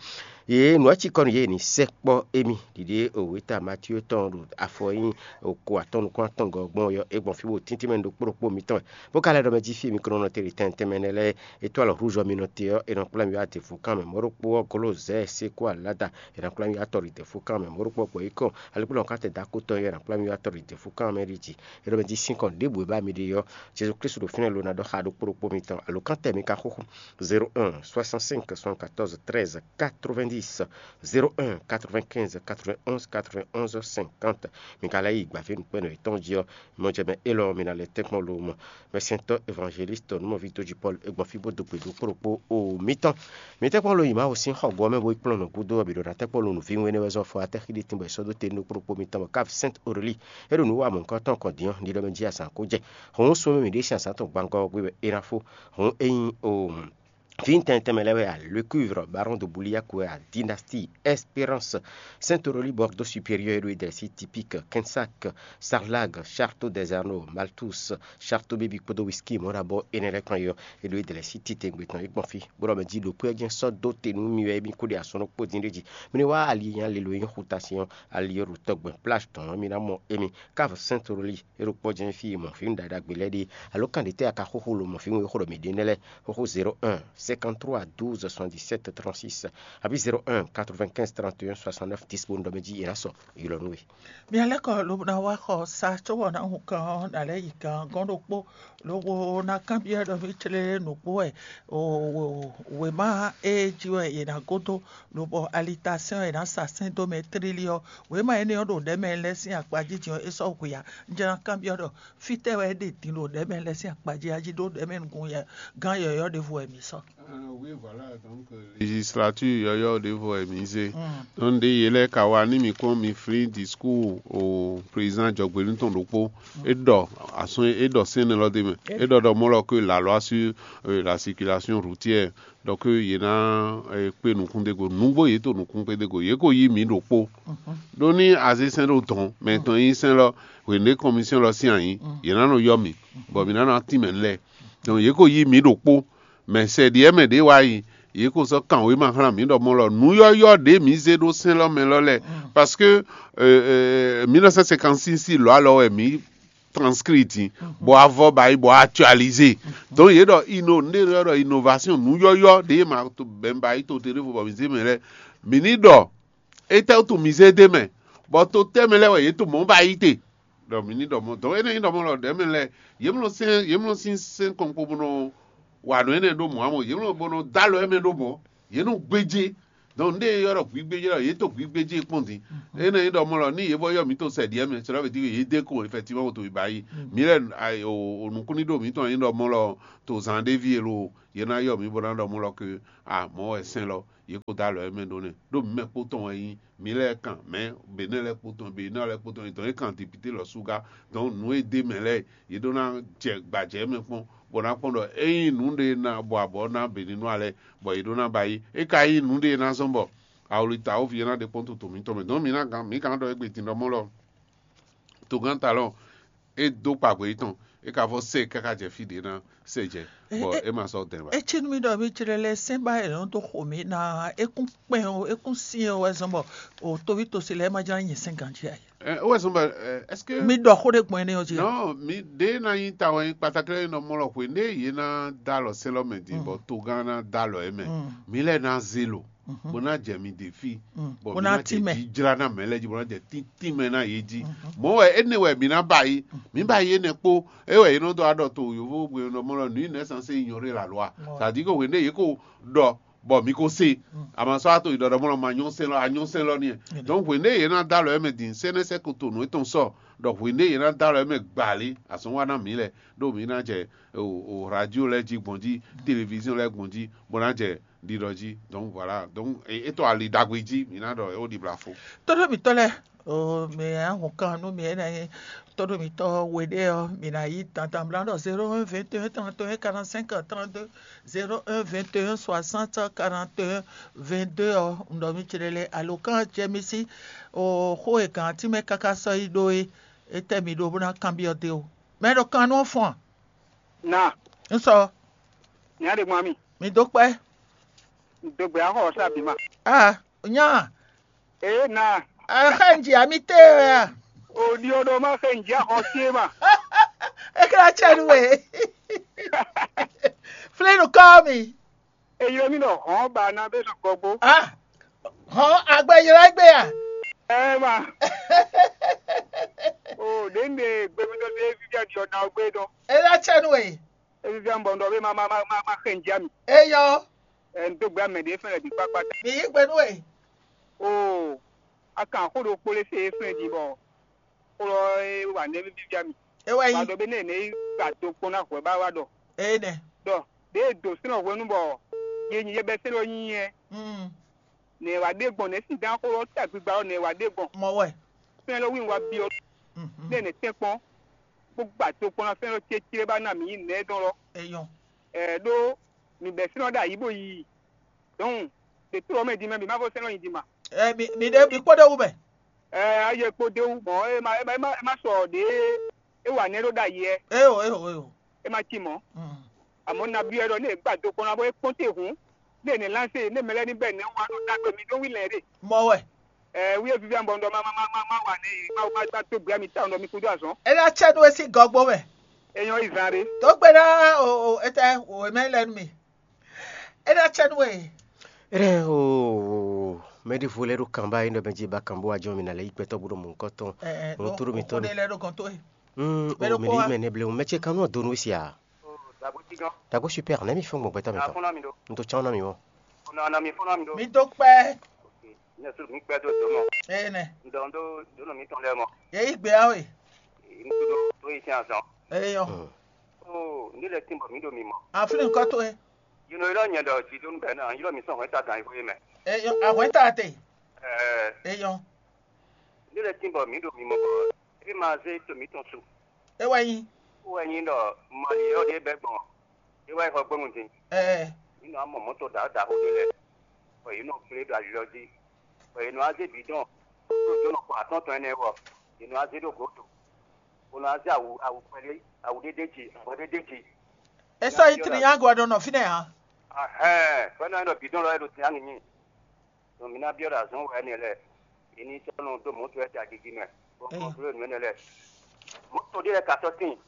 Yě nǔ ɔ́ cikɔ nú yě ní sɛkpɔ́ émí ɖiɖe òwúta Matíyo tɔn ɖo afɔ e nyí oko atɔn nukún atɔn gɔ́ gbɔn ɔ́, é gbɔn fí bó tíntín mɛ ɖokpó ɖokpó mitɔn wɛ. Bó ka lɛ́ ɖɔ mɛ jí fí e mi ko nɔ nɔ te ɖi tɛntɛn mɛ nɛ́ lɛ́ɛ, é tó alɔ hlúzɔ mi nɔ te ɔ́, è nɔ kplá mi wá dɛ̌nfúkan mɛ. Mɔ̌ ɖokpó ɔ́, Glozɛ́ɛ Sékó Aláda, è nɔ kplá mi wá tɔ́ ɖi dɛ̌nfúkan mɛ. Mɔ̌ ɖokpó ɔ́, gbɔ̌ yí kɔn, alíkúlɔ́ ká tɛ dó akótɔ́ ɔ́, è nɔ kplá mi wá tɔ́ ɖi dɛ̌nfúkan mɛ ɖi jǐ. É ɖɔ mɛ jí sín kɔn ɖěbǔ e ba mi ɖe ɔ́, Jezu Klísu ɖo fínɛ́ lo ná ɖɔ xá ɖokpó ɖokpó mitɔn. Alo kántɛ mi ka xóxó zéro un soixante-cinq soixante-quatorze treize quatre-vingt-dix, zéro un quatre-vingt-quinze quatre-vingt-onze quatre-vingt-onze cinquante. Mi ka lɛ́ yi gbǎví nǔkpɛ́nɔ yětɔn jí ɔ́, mɔjɛmɛ élɔ́ mi ná lɛ́ tɛ́nkpɔ́n lo mɔ. Mɛsɛntɔ́ évangéliste nǔmɔví tójí Pɔ́lu é gbɔn fí bó dó gbe ɖokpó ɖokpó o mitɔn. Mi tɛ́nkpɔ́n lo yi Mawu sín xɔgbó ɔ́ mɛ bó yi kplɔ́n nǔ gúdo ɔ́ bǐ ɖo ná tɛ́nkpɔ́n lo nǔvínwénɛ́ wɛ zɔ́ fɔ atɛ́ xí ɖé tín bɔ è sɔ́ dó te nú ɖokpó ɖokpó mitɔn bɔ kávi Sɛ́nt Orelíi é ɖo nǔ wa mɔ̌hunkɔtɔn kɔn din ɔ́, ɖiɖɔ mɛ jí azǎn ko jɛ. Hǔn súnnu mǐ ɖésú azǎn tɔn gbangɔ ɔ́ gbé wɛ é ná fó. Hǔn ényí o fí tɛnmɛ tɛnmɛ lɛ́ɛ wɛ a, le cuivre, baron de Bouliac wɛ a, dynastie, Espérance, Saint Orly, Bordeaux supérieur, é ɖo é dɛ̌ sí, Typique, Quinsac, Sarlag, Château des Anneaux, Malthus, Château Baby kpódó whisky mɔ̌ ɖo abɔ énɛ́ lɛ́ɛ kpán ɔ́, é ɖo é dɛ̌ sí titewungbe tɔn é gbɔn fí, bó ɖɔ mɛ jí ɖo kpé ɔ́ jɛ́n sɔ́ dó te nú mi wɛ émí kó ɖe asɔ́ ɖokpó dín ɖé jí. Mi ní wá ali e nyí ali lo nyí xuta sin ɔ́, ali ɔ́ ɖo tɔgbɛn plage tɔn ɔ́, mi ná mɔ émí. Cave Saint Orly, é ɖo kpɔ́ jɛ́n fí e mɔ̌ fí ɖaɖagbe lɛ́ɛ ɖe, alo kan ɖě tɛ́ a ka xóxó lo mɔ̌ fí e xó ɖɔ mǐ ɖe nɛ́ lɛ́ɛ? Xóxó zéro un cinquante-trois douze soixante-dix-sept trente-six, abǐ zéro un quatre-vingt-quinze trente et un soixante-neuf dix bó un ɖɔ mɛ jí è nǎ sɔ ylɔ́ nú we. Mia lɛ́ kɔ lobo ná wá xɔ sa cóbɔ ná hun kan ɔ́, ná lɛ́ yi kan gɔ́n ɖokpó, lobo ná kanbyɔ́ ɖɔ mì clé nǔgbó wɛ wěma e jí wɛ è nǎ gó dó, lobɔ alitasɛ́n ɔ́ è nǎ sa sɛ́n dó mɛ tlílí ɔ́, wěma énɛ́ ɔ́ ɖo ɖɛ̌ mɛ lɛ́ɛ sín akpa jínjɔ́n ɔ́, é sɔ́ hu ya. Un jló ná kanbyɔ́ ɖɔ fítɛ́ wɛ é ɖe din ɖo ɖɛ̌ mɛ lɛ́ɛ sín akpa jí a jí ɖó ɖɛ̌ mɛ nukún gán yɔ̌yɔ́ ɖěvo wɛ mǐ sɔ́. Législature yɔyɔ ɖěvo wɛ mǐ zé. Donc ɖe yě lɛ́ɛ ka wa ní mǐ kpɔ́n mi flín discours o président jɔgběnu tɔn ɖokpó. É ɖɔ asɔn é ɖɔ sɛ́n élɔ́ d'é mɛ. É ɖɔ ɖɔ mɔ́ lɔ que la loi sur euh, la circulation routière. Donc yě ná eh, kpé nukún dé go. Nǔgbó yě to nukún kpé dé go. Yě ko yí mǐ ɖokpó. Ɖó ní azé sɛ́n ɖo dɔn, mɛ tɔn yí sɛ́n lɔ, hwěndé commission lɔ sín ayǐ, yě ná nɔ yɔ mǐ, bɔ mǐ ná nɔ tín mɛ lɛ. Donc yě ko yí mǐ ɖokpó. Mɛ sɛ ɖiɛ mɛ ɖě wá yi, yě ko sɔ́ kan wěma xlán mǐ ɖɔ mɔ lɔ nǔ yɔ́yɔ́ ɖě mǐ zé ɖó sɛ́n lɔ mɛ lɔ lɛ. Parce que euh, euh, mille neuf cent cinquante-six lɔ alɔ wɛ mǐ transcrit, bɔ avɔ ba yi bɔ actualisé. Donc yě ɖɔ inno nɖé yɔ ɖɔ innovation nǔ yɔ́yɔ́ ɖě ma bɛn ba yi to te ɖěvo bɔ mǐ zé mɛ lɛ́ɛ. Mǐ ní ɖɔ étɛ́ wútu mǐ zé dé mɛ, bɔ to tɛ́ mɛ lɛ́ɛ wɛ yě to mɔ̌ ba yi te? Ɖɔ mǐ ní ɖɔ mɔ̌. Donc énɛ́ nyí ɖɔ mɔ̌ lɔ ɖɛ̌ mɛ lɛ́ɛ yě mlɔ́ sɛ́n yě mlɔ́ sín sɛ́n kɔnkpɔ́ bó nɔ wa nǔ énɛ́ ɖó mɔ̌ ǎ mɔ, yě mlɔ́ bó nɔ dó alɔ émɛ ɖó mɔ̌, yě nɔ gbéjé. Donc nú ɖé e ylɔ́ ɖɔ hwǐgbéjé ɔ́, yě to hwǐgbéjé kpɔ́n din. Énɛ́ nyí ɖɔ mɔ̌ lɔ, ní yě vɔ ylɔ́ mǐ to sɛ ɖi ɛ́ mɛ, c'est là veut dire que yě dé ko effectivement to yi ba yi. Mǐ lɛ́ɛ o nukúnníɖó mǐtɔn nyí ɖɔ mɔ̌ lɔ to zan ɖé ví e lo, yě ná ylɔ́ mǐ bó ná ɖɔ mɔ̌ lɔ ke a mɔ̌ wɛ sɛ́n lɔ, yě ko dó alɔ émɛ ɖó nɛ́. Ɖó mǐ mɛ kpó tɔn wɛ nyí, mǐ lɛ́ɛ kan mɛ̌, Benɛ́ lɛ́ɛ kpó tɔn, Benɛ́ lɛ́ɛ kpó tɔn, yě tɔn yě kan depite lɔ súgá. Donc nǔ e dé mɛ lɛ́ɛ, yě ɖó ná jɛ gbǎjɛ mɛ kpɔ́n, bɔ ná kpɔ́n ɖɔ ényí nǔ ɖé ná bɔ abɔ ná Benɛ́nu alɛ, bɔ yě ɖó ná ba yi. É ka nyí nǔ ɖé ná zɔ́n bɔ awlita wóvi e ná ɖe kpɔ́n toto mǐtɔn mɛ. Donc mǐ ná gán mǐ gán ɖɔ égbé din ɖɔ mɔ́ lɔ togán talɔn é dó kpagbe yětɔn, é ka vɔ sɛ káká jɛ fí ɖě ná sɛ jɛ, bɔ é ma sɔ́ dɛn ba. É cí nú mì ɖɔ mì jlɛ́ lɛ́ɛ sɛ́n ba è nɔ dó xo mǐ ná é kún kpɛn ó, é kún syɛ́n ó wɛ zɔ́n bɔ o tóví tosi lɛ́ɛ ma jlá nyɛ sɛ́n ganjí ǎ. Ɛ, ó wɛ sɔn bɔ ɛ, est-ce que Mi ɖɔ xó ɖé gbɔn énɛ́ ɔ́ jí. Non, mi ɖé ná nyí ta wɛ nyí kpatakle nɔ mɔ lɔ xwe ne yě ná dó alɔ sɛ́n lɔ mɛ din bɔ togán ná dó alɔ ɛ mɛ. Mi lɛ ná zé lo bó ná jɛ mi ɖe fí, bɔ Bó mi ná ná jɛ tínmɛ. Jijlá ná mɛ lɛ jí bó ná jɛ tíntín mɛ ná yé jí. Mɔ̌ wɛ énɛ́ wɛ mi ná ba yi, mi ba yi énɛ́ kpó. É wɛ yě nɔ dó aɖɔ to yǒvó gbe nɔ mɔ lɔ nǔ nɛ́ sán sé ignorer la loi. C'est-à-dire que hwenu ɖé yě ko ɖɔ bɔ mi ko se, ama sɔ́ ato yi ɖɔɖɔ mɔ lɔ ma nyɔ́ sɛn lɔ a nyɔ́ sɛn lɔ n'i. Donc hwenu ɖé yě ná dó alɔ ɛ mɛ din sɛnɛsɛ ko to nǔ etɔn sɔ, ɖɔ hwenu ɖé yě ná dó alɔ ɛ mɛ gbali azɔn wa ná mi lɛ, ɖó mi ná jɛ o radio lɛ jí gbɔn jí, télévision lɛ gbɔn jí, bó ná jɛ ɖiɖɔ jí. Donc voilà, donc é tɔ ali ɖagbe jí mi ná ɖɔ é wó ɖi bla fo. Tóɖó mǐtɔn lɛ́ɛ, o mǐ ahɔn kan nú mǐ énɛ́ nyí tóɖó mǐtɔn we ɖé ɔ́, mǐ ná yí dandan bla ɖɔ zéro un vingt et un trente et un quarante-cinq trente-deux, zéro un vingt et un soixante quarante et un vingt-deux ɔ́, un ɖɔ mì céɖélé alǒkan jɛ mì sí o xó e gǎn tínmɛ káká sɔ́ yi ɖó é, étɛ́ mǐ ɖó bó ná kanbyɔ́ dó o. Mɛ ɖo kan nú ɔ́ fɔ́n a? Na, Un sɔ, nya ɖe gbɔn mi. Mi dó kpɛ́. Dogbe axɔ sa bi ma. Ah, nya. Ee na. Axé nji ami te ya. O di o ɖo ma xe nji axɔ sie ma. Ekla tsɛ nu we. Flinu kɔ mi. Eyi mi nɔ hɔn ba na be nɔ gɔgbo. Ah, hɔn agbe yra gbe ya. Ɛ ma. O ɖe nde gbemidɔ ɖe vivi adi ɔna gbe dɔ. Ela tsɛ nu we. Evi via mbɔ ndɔ be ma ma ma ma ma xe nji ami. Eyɔ. Ɛ n do gbe amɛ ɖe fɛn lɛ bi kpakpa ta. Mi yi gbe nu we. O, a kan xó ɖokpó lé se fɛn di bɔ xó lɔ e wa nɛ vivi via mi. Ewa yi. Wa dɔ be ne ne yi gba do kpɔn na hwɛ ba wa dɔ. Ene. Dɔ de do sinɔ hwenu bɔ ye nyi ye bɛ se lɔ nyi yɛ. Mm. Ne wa de gbɔn ne si dan xó lɔ ta gbigba lɔ ne wa de gbɔn. Mɔ wɛ. Fɛn lɔ wi wa biɔ. Mhm. Ne ne tɛn kpɔn. Gbogbo ato kpɔn na fɛn lɔ cecere ba na mi yi nɛ dɔn lɔ. Eyɔn. Ɛ ɖo mi bɛ sinɔ ɖe ayi bo yi. Donc de to mɛ di mɛ bi ma fɔ sɛnɛ yi di ma. Ɛ mi mi ɖe mi kpɔ ɖe wu mɛ. Ɛ ayi kpo de wu mɔ e ma e ma e ma e ma sɔ de e wa nɛ ɖo ɖe ayi ɛ. Eyo eyo eyo. E ma ci mɔ. Mm. Amɔ na bi ɛ ɖɔ ne e gba do kpɔn na bɔ e kpɔn te hun. Ne ne lanse ne mɛ lɛ ni bɛ ne wa nɔ dagbe mi ɖo wi lɛ ɖe. Mɔ wɛ. Ɛ wi e vivi ambɔ ŋdɔ ma ma ma ma ma wa ne ma ma ma to gbɛ mi ta ŋdɔ mi kudo azɔn. E na tsɛ nu esi gɔgbo mɛ. E nyɔ yi zan ɖe. Tó gbe na o o etɛ o emɛ lɛ nu mi. E na tsɛ nu e. Eɖe o mɛɖevo lɛ ɖo kan ba yi nɔ bɛ dzi ba kan bo wa jɔ mi na lɛ yi gbɛtɔ bo ɖo mɔ nukɔ tɔn. Ɛ ɛ Mo to ɖo mi tɔn. Ɖe lɛ ɖo gɔn to e. Mm, Mɛ o ɖo mi kpɔ ɖi wa. Mɛ ne ble o mɛ ce kan nɔ do nu sia. Dagbo super ne mi fɛn gbɔn gbɛtɔ mi tɔn. N to chan na mi mɔ. Mi do kpɛ. Ne su mi kpɛ do do mɔ. Ene. N dɔn do do nɔ mi tɔn lɛ mɔ. Ye yi gbe awe. N to do do yi tiɲɛ azɔn. Eyɔ. Mm. O, n de lɛ tin bɔ mi ɖo mi mɔ. Aflin kɔ to e. Yino ylɔ nyɛ ɖɔ jidonu bɛ na ylɔ mi sɔn hwɛta gan yi xwé mɛ. Eyɔ, ahwɛta te. Ɛɛ, Eyɔ. N de lɛ tin bɔ mi ɖo mi mɔ bɔ e ma zé to mi tɔn su. E wɛ nyi. Wɛ nyi ɖɔ mali yɔ ɖe bɛ gbɔn. E wɛ xɔ gbɛmu din. Ɛɛ. Mi nɔ amɔ mɔtɔ da da xo ɖe lɛ. Bɔ yi nɔ kplé ɖo ali lɔ dzi. Bɔ yi nɔ azé bidɔn. Ɖo do nɔ kɔ atɔn tɔn ɛnɛ wɔ. Yi nɔ azé ɖo godo. Bó nɔ azé awu awu kpɛɖé awu ɖéɖé dzi avɔ ɖéɖé dzi. E sɔ yi tri nya gɔ ɖo nɔ fínɛ hã. Ahɛn, fɛnɛ nɔ bidɔn lɔ yɛ ɖo tin anyi nyi. Donc mi ná byɔ́ ɖo azɔn wɛ ɛnɛ lɛ. Yi ní sɔ́ nɔ dó mɔ̌ tɔn ta gigi mɛ. Bó kɔntrole nǔ ɛnɛ lɛ. Mɔ̌to ɖé lɛ́ɛ ka sɔ́ tíin,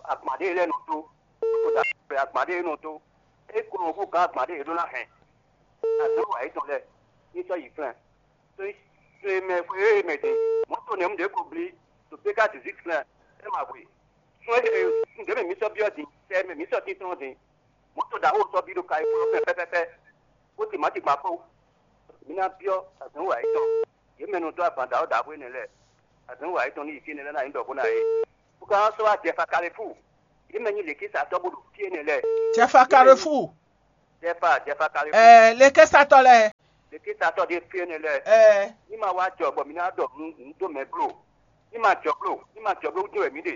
agban ɖé lɛ́ɛ nɔ dó, mɔ̌to ɖo agban ɖé nɔ dó, é ko nɔ hú gǎn agban ɖé ɖó ná hɛn. Azɔ̌ wa yětɔn lɛ́ɛ ní sɔ́ yi flɛ́n. Tó e mɛ xwe e mɛ din, mɔ̌to nɛ̌ un ɖě ko blí ɖo péká dǐzí flɛ́n, é ma hwe. Sún e ɖě mɛ mǐ sɔ́ byɔ́ din, sɛ e mɛ mǐ sɔ́ tíntɔ́n din, mɔ̌to ɖaxó sɔ́ bí ɖo Kayifúnɔ fɛ́n pɛ́pɛ́pɛ́, bó timatigban kpó. Mi ná byɔ́ azɔ̌ wa yětɔn, yě mɛ nɔ dó agban ɖaxó ɖaxó énɛ́ lɛ́ɛ. Azɔ̌ wa yětɔn ní yi fí énɛ́ lɛ́ɛ ná nyí ɖɔ bó ná yé. Bó ka sɔ́ wá Jɛfa Kalefúu, yě mɛ nyí lěkísatɔ́ bó ɖo fí énɛ́ lɛ́ɛ. Jɛfa Kalefúu. Jɛfa, Jɛfa Kalefúu. Ɛɛ, lékésatɔ lɛ́ɛ. Lékésatɔ ɖé fí énɛ́ lɛ́ɛ. Ɛɛ. Ní ma wá jɔ bɔ mi ná ɖɔ nǔ nǔ dó mɛ bló. Ní ma jɔ bló, ní ma jɔ bló wútu wɛ mǐ ɖe.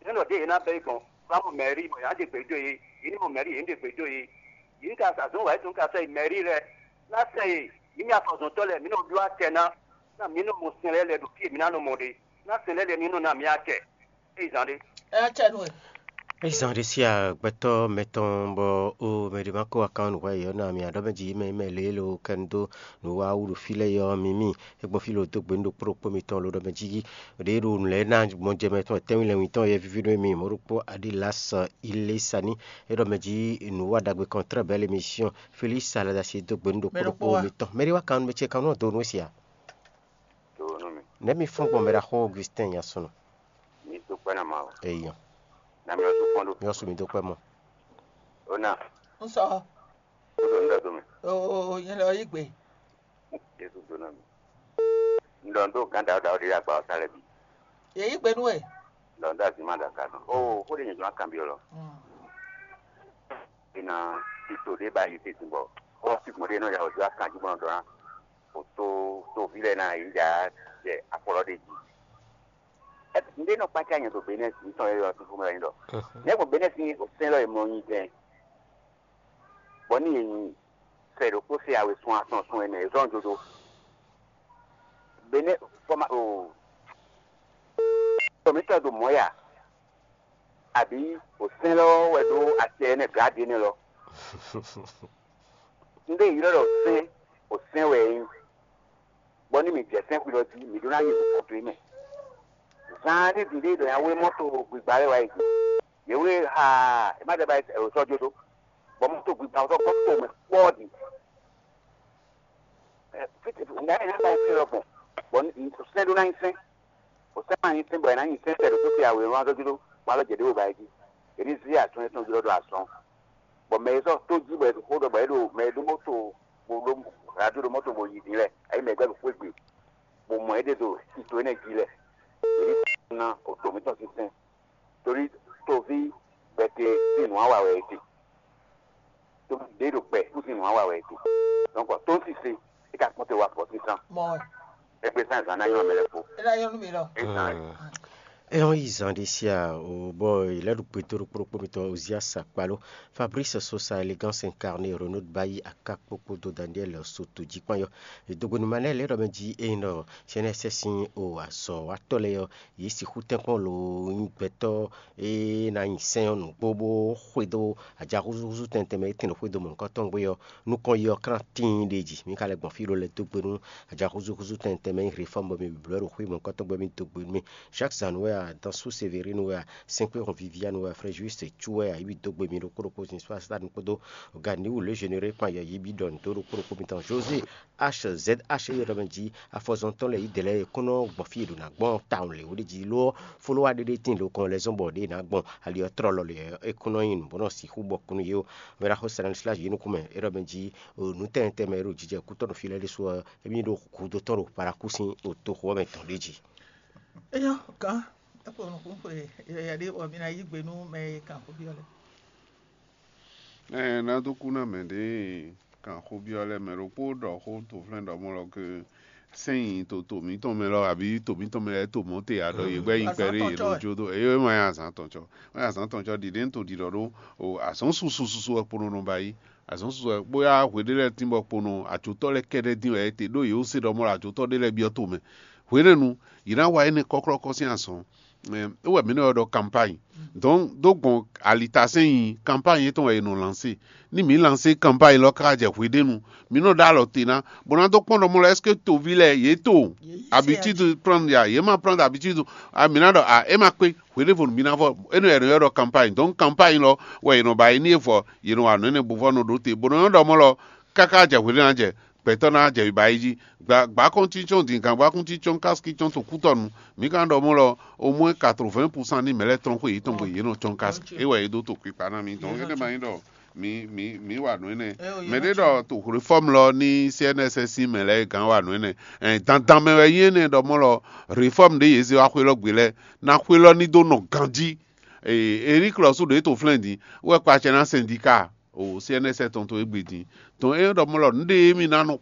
Nɛ̌ nɔ ɖě yě ná bɛ́ yi gbɔn? Vá mɔ mɛ̌rí bɔ yě ná ɖe gbě dó yě, yě ní mɔ mɛ̌rí yě ní ɖe gbě dó yě. Yě ní ka sa zɔ̌n wǎ yětɔn ka sɔ́ yi mɛ̌rí lɛ́ɛ. Ná sɛ yě, mǐ mɛ afɔzɔntɔ́ lɛ́ɛ, mǐ nɔ ɖó acɛ ná, ná mǐ nɔ mɔ sɛn lɛ́ɛ lɛ́ɛ ɖo fí e mǐ ná nɔ mɔ ɖe. Ná sɛn lɛ́ɛ lɛ́ɛ ní nɔ ná mǐ acɛ. É yi zán ɖé. É ná cɛ nú we. É zán ɖé sí agbɛtɔ́ mɛtɔn bɔ ó mɛ ɖé ma kó wá kán nǔ hwɛ yě ɔ́ ná mì aɖɔ́ mɛ jí mɛ mɛ lě lo kɛnu dó nǔ wa wú ɖo fí lɛ́ɛ yɔ mǐ mì. É gbɔn fí lo dó gbe nú ɖokpó ɖokpó mitɔn lo ɖɔ mɛ jí ɖě ɖo nǔ lɛ́ɛ ná gbɔn jɛ mɛ tɔn tɛ́nwí lɛ́nwí tɔn yɛ víví nú mì mɔ̌ ɖokpó Aɖilas Ilésani. É ɖɔ mɛ jí nǔ wa ɖagbe kɔntrɛ́ bɛ́ l'émission Félix Aladasi dó gbe nú ɖokpó ɖokpó mitɔn. Mɛ ɖé wá kán nú mɛ ce kán nú ɔ́ dó nú é sia. Nɛ̌ mi fɔ́n gbɔn mɛ ɖaxó Augustin Nyasunu? Mi dó kpɛ́ ná ma o. Eyɔn. Na mi ɔ́ sú fɔ́n ɖó. Mi ɔ́ sú mi dó kpɛ́ mɔ. Ó ná. Un sɔ. Ó ɖo níɖɔ dó mɛ. Oo, nyɛ lɛ yí gbe. Yésu dó ná mi. Un ɖɔ un ɖó gǎn ɖaɖo ɖaɖo ɖé ɖo agba ɔ́ sá lɛ́ɛ bǐ. Yě yí gbe nú we. Un ɖɔ un ɖó azǐn ma ɖo aga nɔ. Oo, xó ɖé nyɛ jɔ ná kanbyɔ́ lɔ. Mm. Ina tito ɖé ba yi tete bɔ xɔ sigbɔn ɖé nɔ ya wòjɔ akan jí bɔ nɔ ɖɔ ná o to toví lɛ ná yi ja jɛ afɔlɔ ɖé jí. Ɛdi nɖé nɔ kpácá nyɛ ɖo Benɛsi ŋutɔ yɛ yɔ tuntun mɛ wɛ nyí ɖɔ. Nyɛ gbɔn Benɛsi sɛn lɔ yɛ mlɔ nyi dɛn. Bɔ ní yɛ nyi sɛ ɖokpó se awe sun atɔn sun ɛnɛ zɔn jodo. Benɛ fɔma o tɔmítɔ ɖo mɔ̌ ya. Àbí òsɛ́n lɔ wɛ ɖó acɛ énɛ́ glǎdě nɛ́ lɔ? Un ɖe ylɔ́ ɖɔ sɛ́n, òsɛ́n wɛ é nyí, bɔ ní mǐ jɛ sɛ́n xwilɔ jí, mǐ ɖó ná yi nukɔn towe mɛ. Zaan ɖé din ɖé ɖɔ nya wé mɔ́to gbigba lɛ́ɛ wá yi gbe. Yě wé haa, è má ɖɛ ba yi sɔ́ jó ɖó, bɔ mɔ́to gbigba ɔ́ sɔ́ gɔ́ to mɛ kpɔ́ɔ́ din. Ŋǎ nya ba yi fí lɔ gbɔn, bɔ sɛ́n ɖó ná nyí sɛ́n. Kò sɛ́ ma nyí sɛ́n bɔ è nǎ nyi sɛ́n tɛ ɖo tó te awě wá dó jló, bɔ alɔ jɛ ɖě wo ba yi jí. È ní zí atún étɔn jló ɖo azɔn, bɔ mɛ e sɔ́ tó jí bɔ è xó ɖɔ bɔ é ɖo mɛ e ɖó mɔ́to, bó ɖó radio ɖo mɔ́to bó yi din lɛ, ayǐ mɛ gbɛ́ ɖo xwé gbe, bó mɔ é ɖe ɖo tito énɛ́ jí lɛ. È ní sɛ́ ná oto mǐtɔn sín sɛ́n, torí toví gbɛtɛ sín nǔ wa wa wɛ é ɖe. Toví ɖě ɖo gbɛ kú sín nǔ wa wa wɛ é ɖe. Donc tó ń sise, é ka kpɔ́n te wá fɔ sísan. Mɔ wɛ. Ẹgbẹ́ sàn zan náà yọ̀ mí lẹ́kọ̀ọ́. É ná yɔ́ nú mi lɔ. Ɛ hɔn yi zan ɖé sia o bɔ yi lɛ ɖo gbedo ɖo kplɔkpɔ mitɔ Ozias Akpalo, Fabrice Sosa, Élégance Incarné, Renaud Bayi, Aka kpokpo do Daniel Soto jí kpán yɔ. Edogbenu ma nɛ lɛ ɖɔ mɛ jí eyin ɖɔ sɛnɛ sɛ sin o azɔ wa tɔ lɛ yɔ, yi sixú tɛnkpɔn lo nyi gbɛtɔ e na nyi sɛn ɔ́ nǔgbó bó xwedó ajaxúzúxúzú tɛntɛn mɛ e tɛn ɖo xwedó mɔ̌hunkɔtɔn gbé ɔ́, nukɔn yi ɔ́ klán tíin ɖ'é jí. Mǐ ka lɛ́ gbɔn fí ɖó lɛ́ dó gbe nú ajaxúzúxúzú tɛntɛn mɛ e nyí Réfɔ́mu bɔ mì blǒ ɖo xwé mɔ̌hunkɔtɔn gbé mì dó gbe nú mì. Jacques Zanu wɛ a, Dansou Sévérin wɛ a, Sɛ́nkpéhɔn Viviane wɛ a, Frère Juste Cu wɛ a, yi mì dó gbe mì ɖokpó ɖokpó Zinsfastan kpódó Ganiwu lě Généré kpan yɛ yi bǐ ɖɔ nǔ dó ɖokpó ɖokpó mitɔn José H Z H yɔ́ ɖɔ mɛ jí afɔzɔntɔ́ lɛ́ɛ yí dɛ lɛ́ɛ e kún nɔ gbɔn fí e ɖo nǎ gbɔn tawun lě wú ɖé jí ló ɔ́, folówa ɖé ɖé tíin ɖo kɔn lɛ́ zɔ́n bɔ ɖě nǎ gbɔn ali ɔ́ tlɔ́ lɔ lě ɔ́, é kún nɔ nyí nǔ bó nɔ sixú bɔ kún nú yé ó. Mɛ ɖaxó Stanislas yě nukún mɛ é ɖɔ mɛ jí nǔ tɛnmɛ tɛnmɛ e ɖo jijɛ kútɔ́ ɖo fí lɛ́ɛ ɖésú ɔ́, émí ɖo hudó tɔn ɖo Parakúsin ɖo toxo ɔ́ mɛ tɔn ɖé jí. Eyɔ́ gán, é kpo nukún xwe yɛyɛ ɖé bɔ mi ná yí gbe nú mɛ e kan xó byɔ́ lɛ́ɛ. Ɛ ná dó kú ná mɛ ɖě kan xó byɔ́ lɛ́ɛ mɛ ɖokpó ɖɔ xó to flɛ́n ɖɔ mɔ lɔ ke sɛ́n nyi to to mǐtɔn mɛ lɔ abǐ to mǐtɔn mɛ lɛ́ɛ to mɔ̌ te a ɖɔ yě gbɛ́ nyi kpɛɖé yě nɔ jó dó eye ma nyí azǎn tɔn cɔ ma nyí azǎn tɔn cɔ ɖiɖě to ɖiɖɔ ɖó o azɔ̌ susu susu wɛ kpono nɔ ba yí azɔ̌ susu wɛ bóyá hwe ɖé lɛ́ɛ tín bɔ kpono atsǒtɔ́ lɛ́ɛ kɛ́ɖɛ́ dín wɛ é te ɖó yě wú se ɖɔ mɔ lɔ atsǒtɔ́ ɖé lɛ́ɛ byɔ́ to mɛ hwenɛ́nu yě ná wa énɛ́ kɔ́klɔ́kɔ́ sín azɔ̌ é wɛ mǐ nɔ ylɔ́ ɖɔ campagne. Donc dó gbɔn alitasɛn nyi campagne yětɔn wɛ è nɔ lancer. Ní mǐ lancer campagne lɔ káká jɛ hweɖénu, mǐ nɔ ɖó alɔ te ná, bó ná dó kpɔ́n ɖɔ mɔ lɔ est-ce que toví lɛ́ɛ yě to habitude prendre ya, yě ma prendre habitude. A mǐ ná ɖɔ a é ma kpé, hweɖévonu mǐ ná vɔ énɛ́ wɛ è nɔ ylɔ́ ɖɔ campagne. Donc campagne lɔ wɛ è nɔ ba yi ní é vɔ yě nɔ wa nǔ énɛ́ bó vɔ nɔ ɖó te, bó nɔ nyɔ́ ɖɔ mɔ lɔ káká jɛ hweɖénu ná jɛ gbɛtɔ́ ná jɛ ba yi jí. Gbǎkɔ́ntíncɔ́n din gangbákúntíncɔ́n kásikíncɔ́n to kútɔnu. Mǐ ka ɖɔ mɔ lɔ au moins quatre-vingts pour cent ní mɛ lɛ́ɛ tɔn xwe yětɔn gbe yě nɔ cɔ́n kási. É wɛ é dó to kpikpa ná mì. Donc énɛ́ ma nyí ɖɔ mǐ mǐ mǐ wa nǔ énɛ́. Mɛ ɖé ɖɔ to réforme lɔ ní C N S S sín mɛ lɛ́ɛ gán wa nǔ énɛ́. Ɛn dandan mɛ wɛ nyí énɛ́ ɖɔ mɔ lɔ réforme ɖé yě zé wá xwé lɔ gbe lɛ́ɛ ná xwé lɔ ní dó nɔ ganjí. Eric lɔ sú ɖě to flɛ́n din wɛ kpa acɛ ná syndicat o C N S S tɔn to égbé din. Donc é ɖɔ mɔ lɔ nǔɖé mì ná nɔ